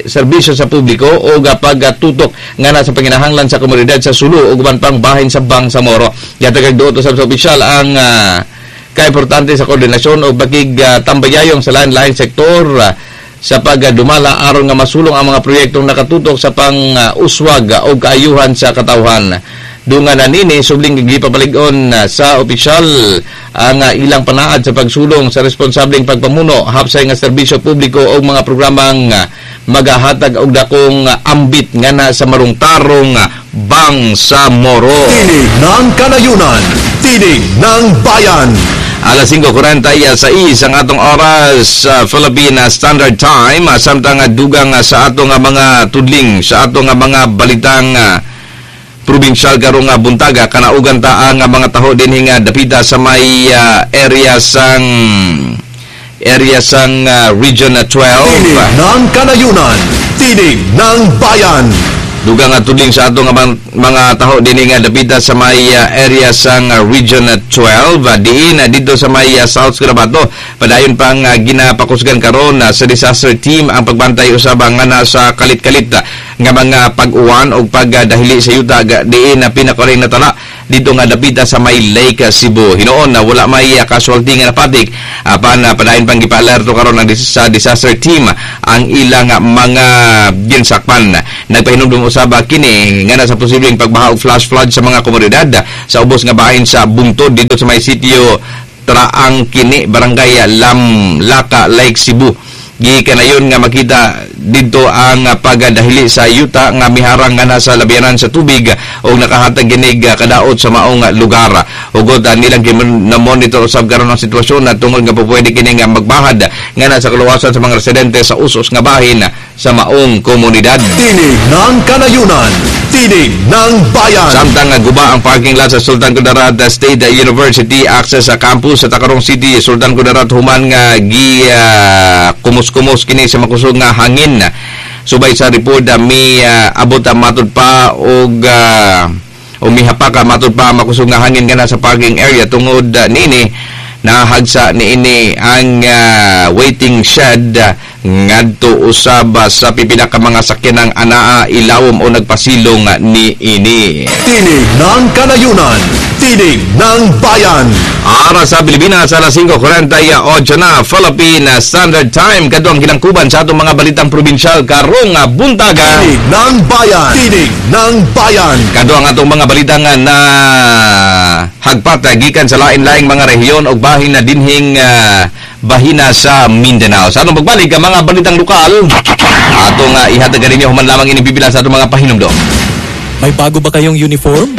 serbisyo sa publiko o pagtutok nga na sa panginahanglan sa komunidad sa Sulu ug uban pang bahin sa Bangsamoro. Gihatag duot usab sa opisyal ang kaimportante sa koordinasyon o pagkig-tambayayong sa lain-laing sektor sa pagdumala aron nga masulong ang mga proyektong nakatutok sa pang-uswag o kaayuhan sa katawhan. Dungan na nini, subling gipapalig-on sa opisyal ang ilang panaad sa pagsulong sa responsableng pagpamuno, hapsay nga serbisyo publiko o mga programang magahatag og dakong ambit nga na sa marungtarong Bangsamoro. Tinig ng Kanayunan, Tinig ng Bayan. Alas 5:46 ang atong oras sa Philippine Standard Time, samtang dugang sa atong mga tudling, sa atong mga balitang Probinsyal karong nga buntaga, kanaugan ta ang mga taho dinhi nga dapita sa may area sang Region 12. Tinig ng Kanayunan, Tinig ng Bayan. Dugang nga tudling sa ato nga mga taho dinhi nga dapita sa may area sang Region 12, diin didto sa may South Cotabato, padayon pang ginapakusgan karon sa disaster team ang pagbantay usab nga na sa kalit-kalit nga mga pag-uwan o pagdahili sa yuta diin na pinakaring natala dito nga dapita sa may Lake Cebu. Hinuon na wala may casualty nga napatik, apan padayon pang gipaalerto karon ang sa disaster team ang ilang mga ginsakpan. Nagpahinumdum usab kini nga na sa posibleng pagbaha og flash flood sa mga komunidad sa ubos nga bahin sa bungtod dito sa may sitio Traang Kini, Barangay Lamlaka, Lake Cebu. Gikanayon nga makita didto ang pagdahili sa yuta nga miharang nga nasa labianan sa tubig o nakahatag ginig kadaot sa maong lugar. Ugod nilang na-monitor usab karon ang sitwasyon na tungod nga pupwede kini nga magbahad nga nasa kaluwasan sa mga residente sa usos nga bahin sa maong komunidad. Tinig ng Kanayunan, Tinig ng Bayan. Samtang guba ang parking lot sa Sultan Kudarat State University access sa campus sa Tacurong City, Sultan Kudarat, human nga gi kumus-kumos kini sa makusog nga hangin. Subay sa report, mi abot matud pa og umihapak matud pa makusog nga hangin kana sa parking area. Tungod niini, nahagsa niini ang waiting shed ngadto usab sa pipila ka mga sakyanang anaa ilawom o nagpasilong niini. Tinig ng Kanayunan, Tinig ng Bayan. Ara sa Pilipinas, alas 5:48 na Philippine Standard Time. Kadto ang ginangkuban sa atong mga balitang probinsyal karong buntaga. Tinig ng Bayan, Tinig ng Bayan. Kadto ang atong mga balitang na hagpat gikan sa lain-laing mga rehiyon o bahin na dinhing bahina sa Mindanao. Sa atong pagbalik, ang mga balitang lokal atong ihatag ninyo human lamang ining pipila sa atong mga pahinumdom. May bago ba kayong uniform?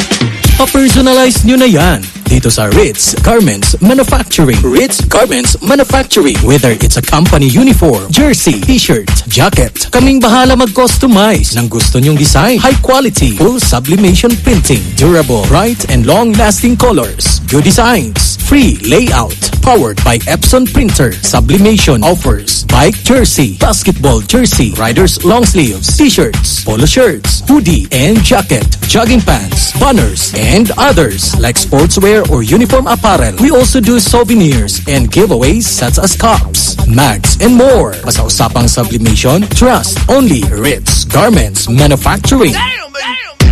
Pa-personalize nyo na yan dito sa Ritz Garments Manufacturing. Ritz Garments Manufacturing. Whether it's a company uniform, jersey, t-shirt, jacket, kaming bahala mag-customize ng gusto nyong design. High quality, full sublimation printing, durable, bright and long-lasting colors, good designs, free layout, powered by Epson printer. Sublimation offers bike jersey, basketball jersey, riders long sleeves, t-shirts, polo shirts, hoodie and jacket, jogging pants, banners, and others like sportswear or uniform apparel. We also do souvenirs and giveaways such as cups, mugs, and more. Basta usapang sublimation, trust only Ritz Garments Manufacturing.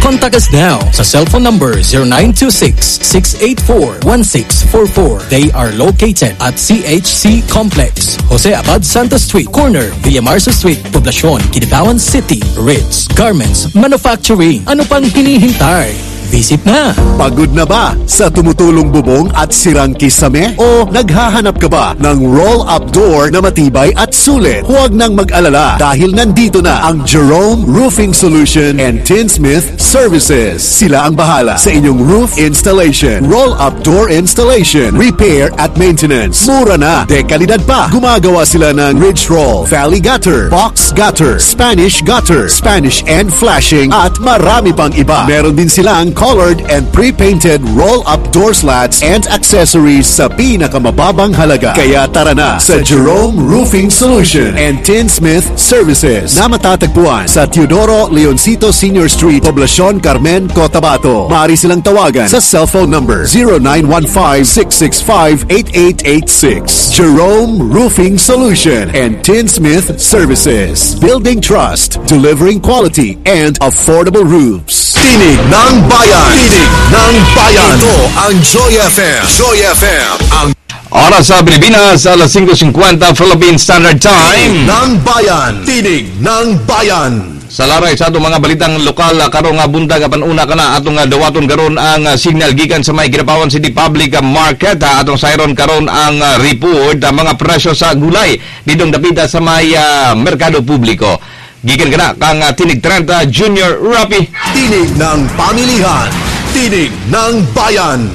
Contact us now sa cellphone number 0926-684-1644. They are located at CHC Complex, Jose Abad Santos Street, corner Villamarzo Street, Poblacion, Kidapawan City. Ritz Garments Manufacturing. Ano pang hinihintay? Visit na! Pagod na ba sa tumutulong bubong at sirang kisame? O naghahanap ka ba ng roll-up door na matibay at sulit? Huwag nang mag-alala dahil nandito na ang Jerome Roofing Solution and Tinsmith Services. Sila ang bahala sa inyong roof installation, roll-up door installation, repair at maintenance. Mura na, dekalidad pa. Gumagawa sila ng ridge roll, valley gutter, box gutter, Spanish gutter, Spanish end flashing at marami pang iba. Meron din silang colored and pre-painted roll-up door slats and accessories sa pinakamababang halaga. Kaya tara na sa Jerome Roofing Solution and Tinsmith Services na matatagpuan sa Teodoro Leoncito Senior Street, Poblacion Carmen, Cotabato. Maaari silang tawagan sa cellphone number 0915-665-8886. Jerome Roofing Solution and Tinsmith Services. Building trust, delivering quality, and affordable roofs. Tinig ng Bayan! Tinig ng Bayan! Ito ang Joy FM. Joy FM. Ang Oras sa Pilipinas, alas 5:50 Philippine Standard Time. Tinig ng Bayan! Tinig ng Bayan! Sa laray sa atong mga balitang lokal karong nga buntag, apan una kana atong dawaton karon ang signal gikan sa may Kidapawan City Public Market. Atong sayron karon ang report mga presyo sa gulay didong dapita sa may merkado publiko. Gikan kana kang Tinig 30 Junior Rapi. Tinig ng pamilihan, Tinig ng Bayan.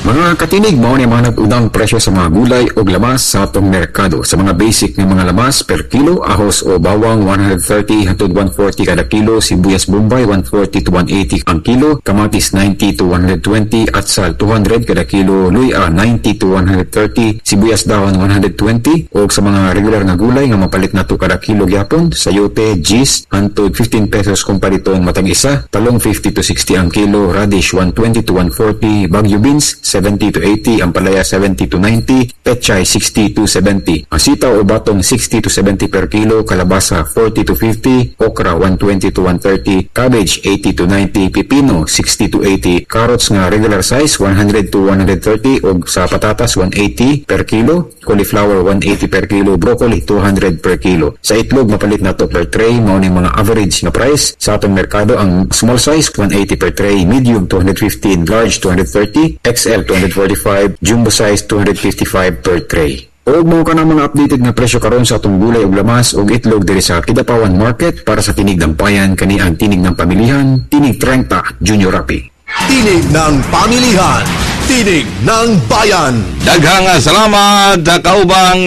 Mga katinig, mao ni mga nag-unang presyo sa mga gulay o lamas sa atong merkado. Sa mga basic nga mga lamas per kilo, ahos o bawang 130 hangtod 140 kada kilo, sibuyas Bombay 140 to 180 ang kilo, kamatis 90 to 120, atsal 200 kada kilo, luya 90 to 130, sibuyas dahon 120, o sa mga regular nga gulay nga mapalit nato kada kilo gyapon, sayote, gis hangtod 15 pesos kung paliton matag isa, talong 50 to 60 ang kilo, radish 120 to 140, bagyo beans 70 to 80, ampalaya 70 to 90, pechay 60 to 70, ang sitaw o batong 60 to 70 per kilo, kalabasa 40 to 50, okra 120 to 130, cabbage 80 to 90, pipino 60 to 80, carrots nga regular size 100 to 130, og sa patatas 180 per kilo, cauliflower 180 per kilo, broccoli 200 per kilo. Sa itlog mapalit na to per tray, mao ning mga average nga price sa atong merkado. Ang small size 180 per tray, medium 215, large 230, XL 245, jumbo size 255 per tray. Og mao kana mga updated nga presyo karon sa atong gulay ug lamas ug itlog diri sa Kidapawan Market. Para sa Tinig ng Bayan, kani ang tinig ng pamilihan, Tinig 30, Junior Rapi. Tinig ng Pamilihan, Tinig ng Bayan. Daghang salamat kaubang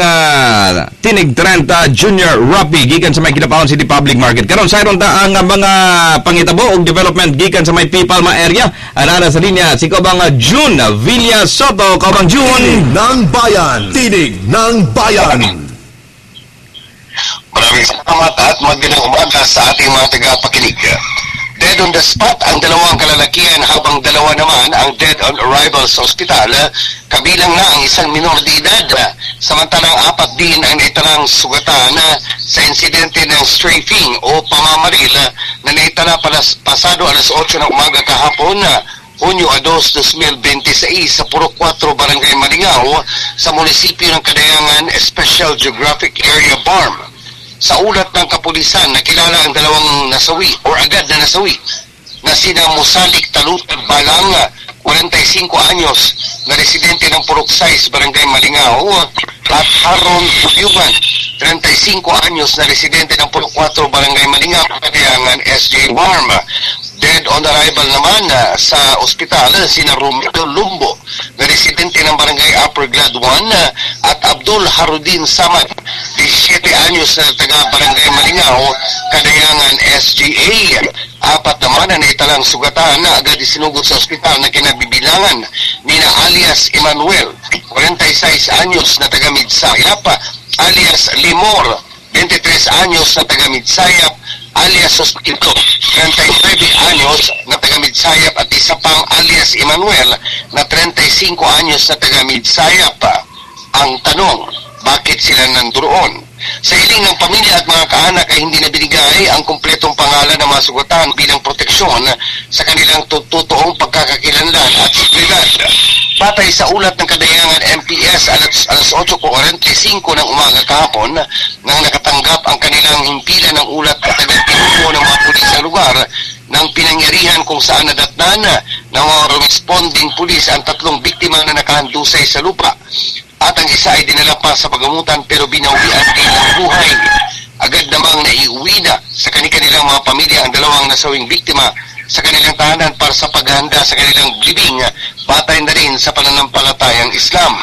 Tinig 30 Junior Rapi gikan sa may Kidapawan City Public Market. Karon sayron ta ang mga pangitabo og development gikan sa may P. Palma area. Anana sa linya si kaubang June Villa Soto. Kaubang June. Tinig ng Bayan, Tinig ng Bayan. Maraming salamat at magandang umaga sa ating mga tagapakinig. Dead on the spot ang dalawang kalalakihan habang dalawa naman ang dead on arrival sa ospital, kabilang na ang isang minor de edad. Samantalang apat din ang naitalang sugatan sa insidente ng strafing o pamamaril na naitala pasado alas 8 ng umaga kahapon, Hunyo 2, 2026 sa Purok 4, Barangay Malingaw sa munisipyo ng Kadayangan, Special Geographic Area BARM. Sa ulat ng kapulisan, nakilala ang dalawang nasawi or agad na nasawi na sina Musalik Talutan Balang, 45 anyos, na residente ng Purok 6, Barangay Malingaw, at Haron Bulyugan, 35 anyos, na residente ng Purok 4, Barangay Malingaw, Kadayangan, SJ BARM. Dead on arrival naman sa ospital sina Romeo Lumbo, na residente ng Barangay Upper Glad 1, at Abdul Harudin Samad, 17 anyos, na taga Barangay Malingaw, Kadayangan, SGA. Apat naman na naitalang sugatan na agad isinugod sa ospital na kinabibilangan nina alias Emmanuel, 46 anyos, na taga Midsayap, alias Limor, 23 anyos, na taga Midsayap, alias Sospito, 39 anyos, na taga Midsayap, at isa pang alias Emmanuel na 35 anyos na taga Midsayap. Ang tanong, bakit sila nandoon? Sa hiling ng pamilya at mga kaanak ay hindi na binigay ang kumpletong pangalan ng mga sugatan bilang proteksyon sa kanilang totoong pagkakakilanlan at seguridad. Batay sa ulat ng Kadayangan MPS alas 8:45 ng umaga kahapon, nang nakatanggap ang kanilang himpilan ng ulat at agad tinubo ng mga pulis sa lugar ng pinangyarihan kung saan nadatnan ng mga responding pulis ang tatlong biktima na nakahandusay sa lupa. At ang isa ay dinala pa sa pagamutan pero binawian din ng buhay. Agad namang naiuwi na sa kanilang mga pamilya ang dalawang nasawing biktima sa kanilang tahanan para sa paghahanda sa kanilang libing, batay na rin sa pananampalatayang Islam.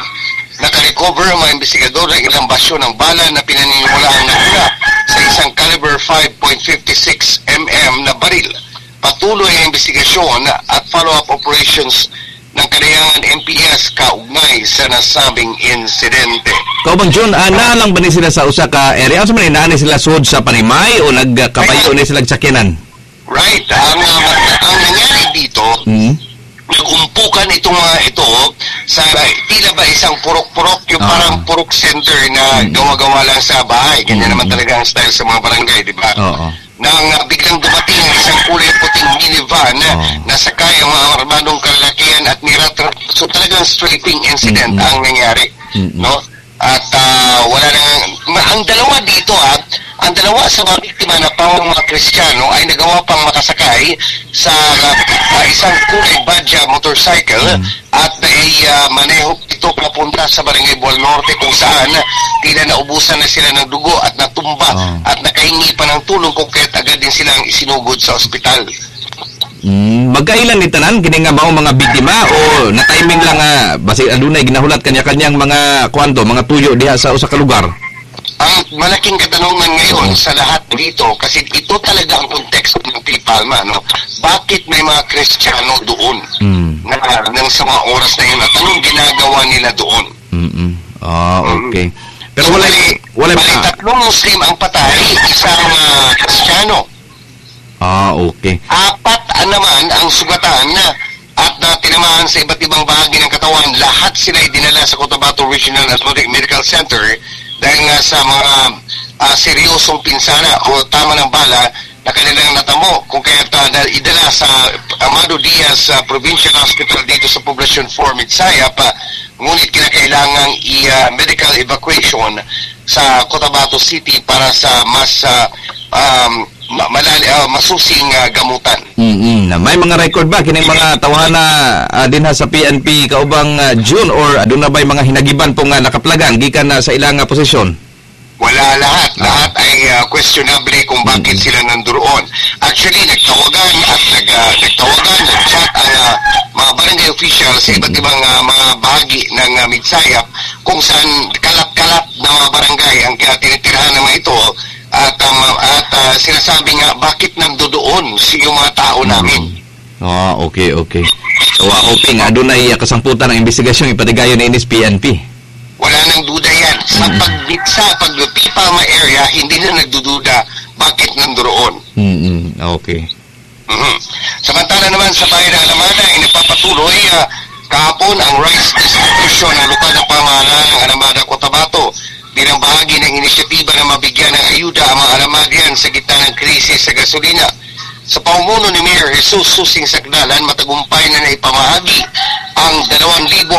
Nakarecover ang mga investigador ng ilang basyo ng bala na pinaniniwalaang nagmula sa isang caliber 5.56 mm na baril. Patuloy ang investigasyon at follow-up operations ng Kadayangan MPS kaugnay sa nasabing insidente. Kaubang June, naa lang ba ni sila sa usa ka area? Unsa man ni naa ni sila sud sa Panimay o nagkapayo ni sila sakyanan? Right. Ang nangyari dito, nagumpukan itong mga ito sa tila ba isang purok-purok, yung parang purok center na gawa-gawa lang sa bahay. Ganyan naman talaga ang style sa mga barangay, di ba? Oo. Nang biglang dumating ang isang kulay puting minivan na sakay ang mga armadong kalalakihan at niratra. So talagang strafing incident ang nangyari, no? At wala nang ang dalawa dito, ang dalawa sa mga biktima na pawang mga Kristiyano ay nagawa pang makasakay sa isang kulay badya motorcycle at maneho ito papunta sa Barangay Bual Norte kung saan tila naubusan na sila ng dugo at natumba at nakahingi pa ng tulong kung kaya't agad din silang isinugod sa ospital. Magkailan ni tanan kini nga mao mga biktima o na timing lang basi adunay ginahulat kanya-kanyang mga kwanto, mga tuyo diha sa usa ka lugar? Ang malaking katanungan ngayon sa lahat dito, kasi ito talaga ang konteksto ng Palma, no? Bakit may mga Kristiyano doon? Na nang sa mga oras na yun, at anong ginagawa nila doon? Ah, okay. Pero so, wala tatlong Muslim ang patay, isang Kristiyano. Ah, okay. Apat naman ang sugatan at tinamaan sa iba't ibang bahagi ng katawan. Lahat sila ay dinala sa Cotabato Regional Athletic Medical Center dahil nga sa mga seryosong pinsala o tama ng bala na kanilang natamo, kung kaya idala sa Amado Diaz Provincial Hospital dito sa Poblacion 4, Midsayap, ngunit kinakailangang i-medical evacuation sa Cotabato City para sa mas masusing gamutan. May mga record ba kining mga tawhana dinha sa PNP kaubang June or aduna bay mga hinagiban pong nakaplagan gikan na sa ilang posisyon? Wala, lahat. Lahat ay questionable kung bakit sila nandoon. Actually, nagtawagan, nag-chat ang mga barangay officials sa iba't ibang mga bahagi ng Midsayap kung saan kalat-kalat na mga barangay ang tinitirahan ng mga ito at sinasabi nga bakit nandoon yung mga tao namin. Ah, okay, okay. So, hoping adunay kasangputan ng investigasyon ipatigayon ni PNP. Wala nang duda yan. Sa pag-Palma area, hindi na nagdududa bakit nandoon. Okay. Samantala naman sa bayan ng Alamada ay nagpapatuloy kahapon ang rice distribution ng lokal na pamahalaan ng Alamada, Cotabato bilang bahagi ng inisyatiba na mabigyan ng ayuda ang mga Alamadian sa gitna ng krisis sa gasolina. Sa pamumuno ni Mayor Jesus Susing Sakdalan, matagumpay na naipamahagi ang 2,480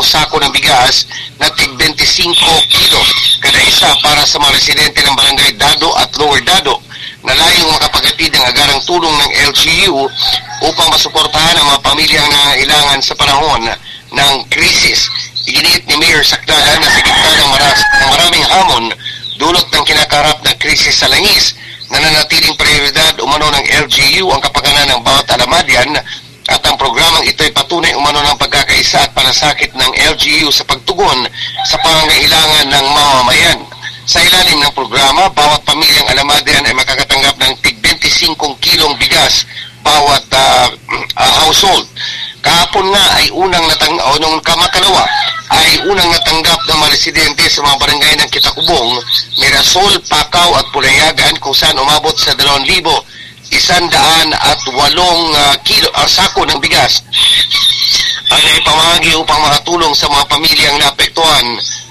sako ng bigas na tig 25 kilo kada isa para sa mga residente ng Barangay Dado at Lower Dado na layong makapaghatid ng agarang tulong ng LGU upang masuportahan ang mga pamilyang nangangailangan sa panahon ng krisis. Iginiit ni Mayor Sakdalan na sa gitna ng maraming hamon dulot ng kinakarap na krisis sa langis, nananatiling prioridad umano ng LGU ang kapakanan ng bawat Alamadian at ang programang ito ay patunay umano ng pagkakaisa at palasakit ng LGU sa pagtugon sa pangangailangan ng mamamayan. Sa ilalim ng programa, bawat pamilyang Alamadian ay makakatanggap ng tig 25 kilong bigas bawat household. Kahapon nga ay unang nung kamakalawa ay unang natanggap ng mga residente sa mga barangay ng Kitakubong, Mirasol, Pakaw at Pulayagan kung saan umabot sa 2,108 kilo sako ng bigas ang naipamahagi upang makatulong sa mga pamilyang naapektuhan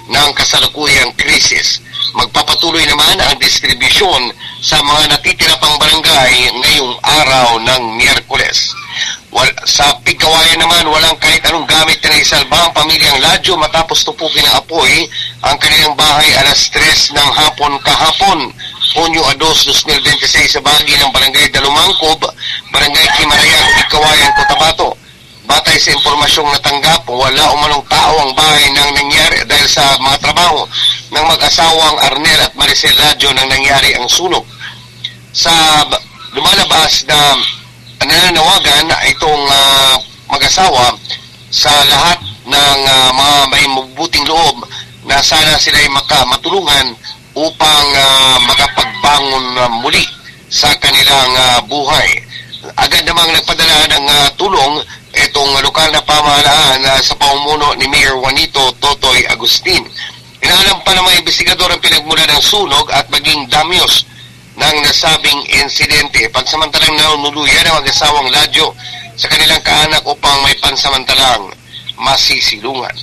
ng kasalukuyang krisis. Magpapatuloy naman ang distribusyon sa mga natitira pang barangay ngayong araw ng Miyerkules. Sa Pigkawayan naman, walang kahit anong gamit na naisalba ang pamilyang Ladyo matapos tupukin ng apoy ang kanilang bahay alas 3 ng hapon kahapon, Hunyo 2, 2026 sa bahagi ng Barangay Dalumangkob, Barangay Kimarayan, Pigkawayan, Cotabato. Batay sa impormasyong natanggap, wala umanong tao ang bahay nang nangyari dahil sa mga trabaho ng mag-asawang Arnel at Maricel Ladyo nang nangyari ang sunog. Sa lumalabas na nananawagan itong mag-asawa sa lahat ng mga may mabuting loob na sana sila ay matulungan upang makapagbangon muli sa kanilang buhay. Agad namang nagpadala ng tulong itong lokal na pamahalaan sa pamumuno ni Mayor Juanito Totoy Agustin. Inaalam pa ng mga investigador ang pinagmula ng sunog at maging damyos ng nasabing insidente. Pansamantalang nanunuluyan ang mag-asawang Ladyo sa kanilang kaanak upang may pansamantalang masisilungan.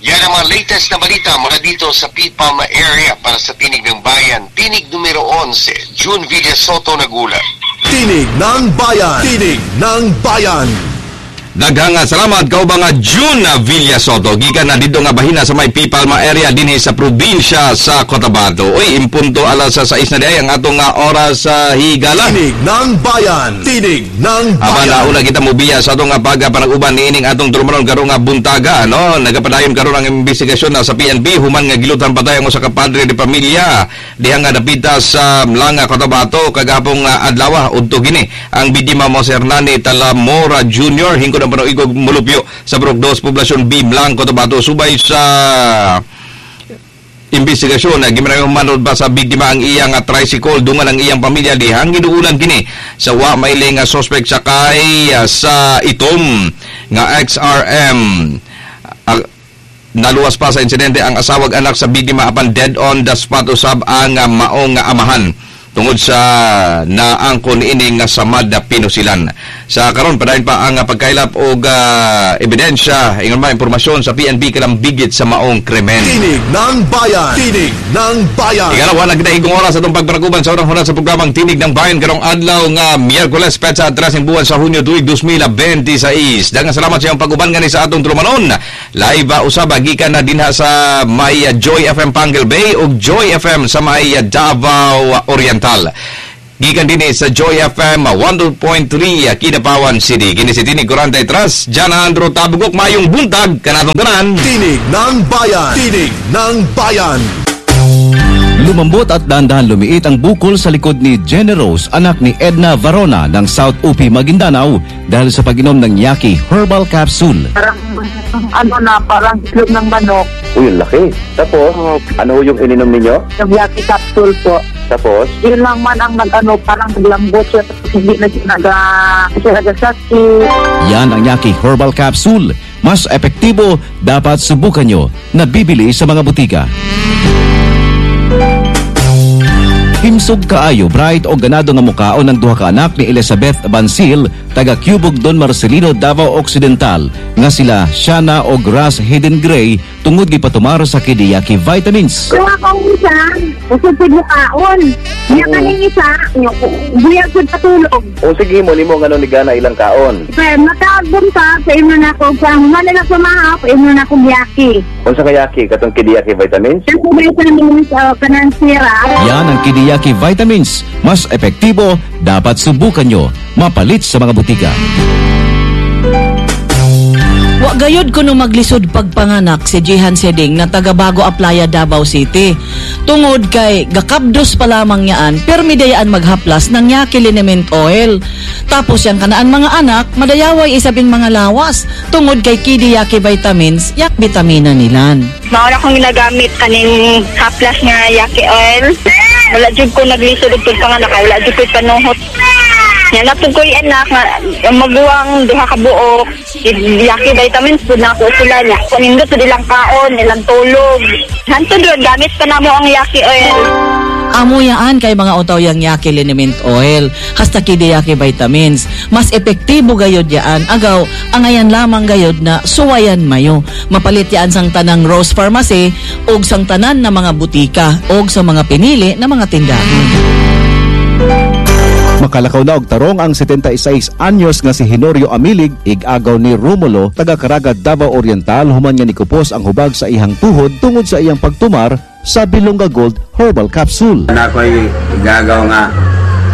Yan ang mga latest na balita mula dito sa P-Palma area para sa Tinig ng Bayan. Tinig numero 11, June Villa Soto, Nagula. Tinig ng Bayan! Tinig ng Bayan! Daghang salamat kauban nga June Villa Soto gikan na didto nga bahina sa may Pipalma area dinhi sa probinsya sa Cotabato. Uy, impunto alas sa 6 na diay ang atong nga oras sa higala. Tinig ng Bayan. Tinig ng Apan Bayan. nauna kita mobiya sa atong nga pagpanag-uban niining atong tulumanon karong nga buntaga, no? Nagapadayon karon ang investigasyon na sa PNP human nga gilutan patay ang usa ka padre de pamilya diha nga dapita sa Mlanga, Cotabato kagahapon nga adlaw. Udto gini ang biktima mo si Hernani Talamora Jr. hingkod ang panoigog mulupyo sa Brok 2, Poblasyon B, Mlang, Cotabato. Subay sa investigasyon na gimarayong manod ba sa biktima ang iyang tricycle dungan ang iyang pamilya dihang giduulan kini sa wa maili nga suspect sakay sa itom nga XRM. Naluwas pa sa insidente ang asawag anak sa biktima apan dead on the spot usab ang maong nga amahan tungod sa naangkon niini nga samad na pinusilan. Sa karon padayon pa ang pagkailap og ebidensya ingon ba impormasyon sa PNP kalambigit sa maong krimen. Tinig ng Bayan. Tinig ng Bayan. Ikalawa na kita higong oras atong pagpanaguban sa unang hulat sa programang Tinig ng Bayan karong adlaw nga Miyerkules petsa 13 buwan sa Hunyo tuig 2026. Daghang salamat sa iyong pag-uban ngani sa atong tulumanon. Live usab gikan na dinha sa may Joy FM Panguil Bay ug Joy FM sa may Davao Oriental. Gikan dinhi sa Joy FM 102.3 Kidapawan City. Kini si Tinig 43, Jan Andro Tabugok, mayong buntag kanatong tanan. Tinig ng Bayan. Tinig ng Bayan. Lumambot at dahan-dahan lumiit ang bukol sa likod ni Generous, anak ni Edna Varona ng South Upi, Maguindanao dahil sa pag-inom ng Yaki Herbal Capsule. Parang ano na, parang itlog ng manok. Uy, ang laki. Tapos, ano yung ininom ninyo? Yung Yaki capsule po. Tapos? Yun lang man ang nag-ano, parang naglambot siya. Tapos hindi na siya nagasakit. Yan ang Yaki Herbal Capsule. Mas epektibo, dapat subukan nyo. Nabibili sa mga butika. Himsog kaayo, bright o ganado nga mukaon ng duha ka anak ni Elizabeth Bansil, taga Cubog Don Marcelino, Davao Occidental, nga sila Shana o Grass Hayden Gray tungod gipatumar sa Kidiyaki Vitamins. Kung akong isa, usod pud mukaon. Niya kaning isa, buyag pud patulog. O sige mo nimo ngano ni gana ilang kaon. Pero makabuntag, sa imo na ako, sa humana na sumahap, imo na akong yaki. Unsa ka yaki katong Kidiyaki Vitamins? Ang vitamins, kanang sira. Yan ang Kidiyaki Vitamins. Mas epektibo, dapat subukan nyo. Mapalit sa mga butika. Wa gayud kuno maglisod pagpanganak si Jihan Seding na taga Bago Aplaya, Davao City. Tungod kay gakabdos pa lamang yaan, permi dayaan maghaplas ng Yaki Liniment Oil. Tapos yang kanaan mga anak, madayaway isabing mga lawas. Tungod kay Kidiyaki Vitamins, yak bitamina nilan. Maura akong ginagamit kaning haplas nga yaki oil. Wala jud ko naglisod og pagpanganak, wala jud ko'y panuhot. Nya na pud ko'y anak nga maguwang duha ka buok. Yaki vitamins pud na ako sila niya. Kanindot pud ilang kaon, ilang tulog. Hantod ron gamit pa namo ang yaki oil. Amuyaan kay mga utaw yang Yaki Liniment Oil, hasta Kidiyaki Vitamins. Mas epektibo gayod yaan. Agaw, angayan lamang gayod na suwayan mayo. Mapalit yaan sang tanang Rose Pharmacy og sang tanan na mga butika og sa mga pinili na mga tindahan. Makalakaw na og tarong ang 76 anyos nga si Hinorio Amilig, ig-agaw ni Romulo, taga Caraga, Davao Oriental, human nga nikupos ang hubag sa iyang tuhod tungod sa iyang pagtumar sa Bilonga Gold Herbal Capsule. Na ako'y igagaw nga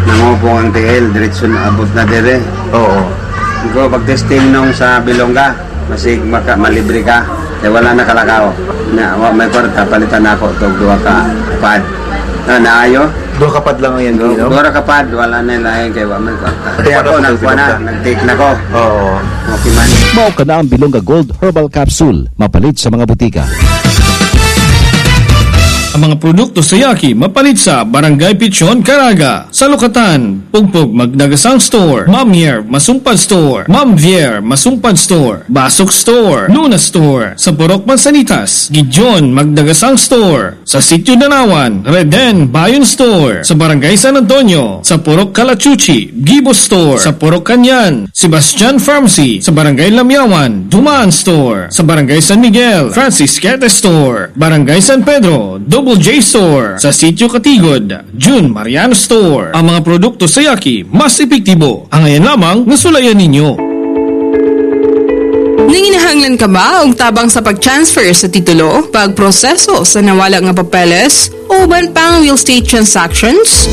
nangupong ang tiil, diretso na abot na dire. Oo. Ikaw, pag-testing nung sa Bilonga, masig maka, malibre ka. Eh, wala na kalakaw. Na, wa, may kwarta, palitan na ako, tog duha ka pad. Na, naayo? Duha ka pad lang ang yan, ginom? Duha ka pad, wala na lain kay wa may kwarta. Kaya ako, nagkuha na, nag-take na ko. Oo. Okay man. Mao ka na ang Bilonga Gold Herbal Capsule, mapalit sa mga butika. Ang mga produkto sa Yaki mapalit sa Barangay Pichon, Caraga, sa Lukatan, Pugpug Magdagasang Store, Mamier Masumpad Store, Mamvier Masumpad Store, Basok Store, Luna Store, sa Purok Mansanitas, Gideon Magdagasang Store, sa Sitio Danawan, Reden Bayon Store, sa Barangay San Antonio, sa Purok Kalachuchi, Gibo Store, sa Purok Kanyan, Sebastian Pharmacy, sa Barangay Lamyawan, Dumaan Store, sa Barangay San Miguel, Francis Quete Store, Barangay San Pedro, Double J Store, sa Sitio Katigod, June Mariano Store. Ang mga produkto sa Yaki, mas epektibo. Ang ngayon lamang, nasulayan ninyo. Nagkinahanglan ka ba og tabang sa pag-transfer sa titulo, pagproseso sa nawala nga papeles, o uban pang real estate transactions?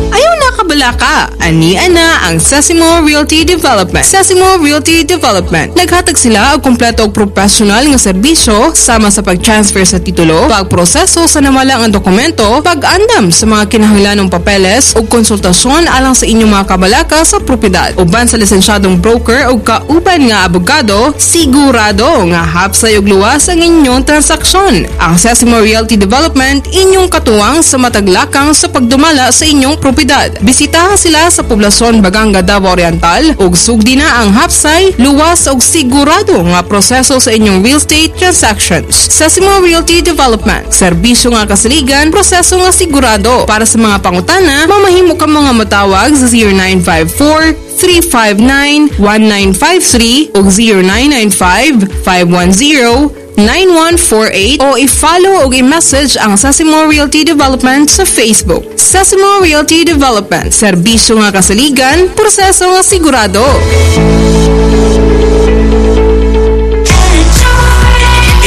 Ayaw na kabalaka. Ani ana ang Sesimo Realty Development. Sesimo Realty Development. Naghatag sila og kompleto og professional nga serbisyo sama sa pag-transfer sa titulo, pagproseso sa nawala nga dokumento, pag-andam sa mga kinahanglanong papeles ug konsultasyon alang sa inyong mga kabalaka sa propiedad. Uban sa lisensyadong broker ug kauban nga abogado, sigurado nga hapsay ug luwas ang inyong transaksyon. Ang Sesimo Realty Development, inyong katuwang sa mataglakang sa pagdumala sa inyong propiedad. Bisitaha sila sa poblasyon Baganga, Davao Oriental ug sugdi na ang hapsay, luwas ug sigurado nga proseso sa inyong real estate transactions. Sesimo Realty Development, serbisyo nga kasaligan, proseso nga sigurado. Para sa mga pangutana, mamahimo ka mga matawag sa 0954 359 1953 o 0995 510 9148 o i-follow o i-message ang Sesimo Realty Development sa Facebook. Sesimo Realty Development, serbisyo nga kasaligan, proseso nga sigurado.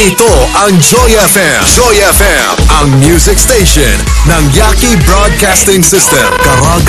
Ito ang Joy FM. Joy FM, ang music station ng Yaki Broadcasting System. Caraga.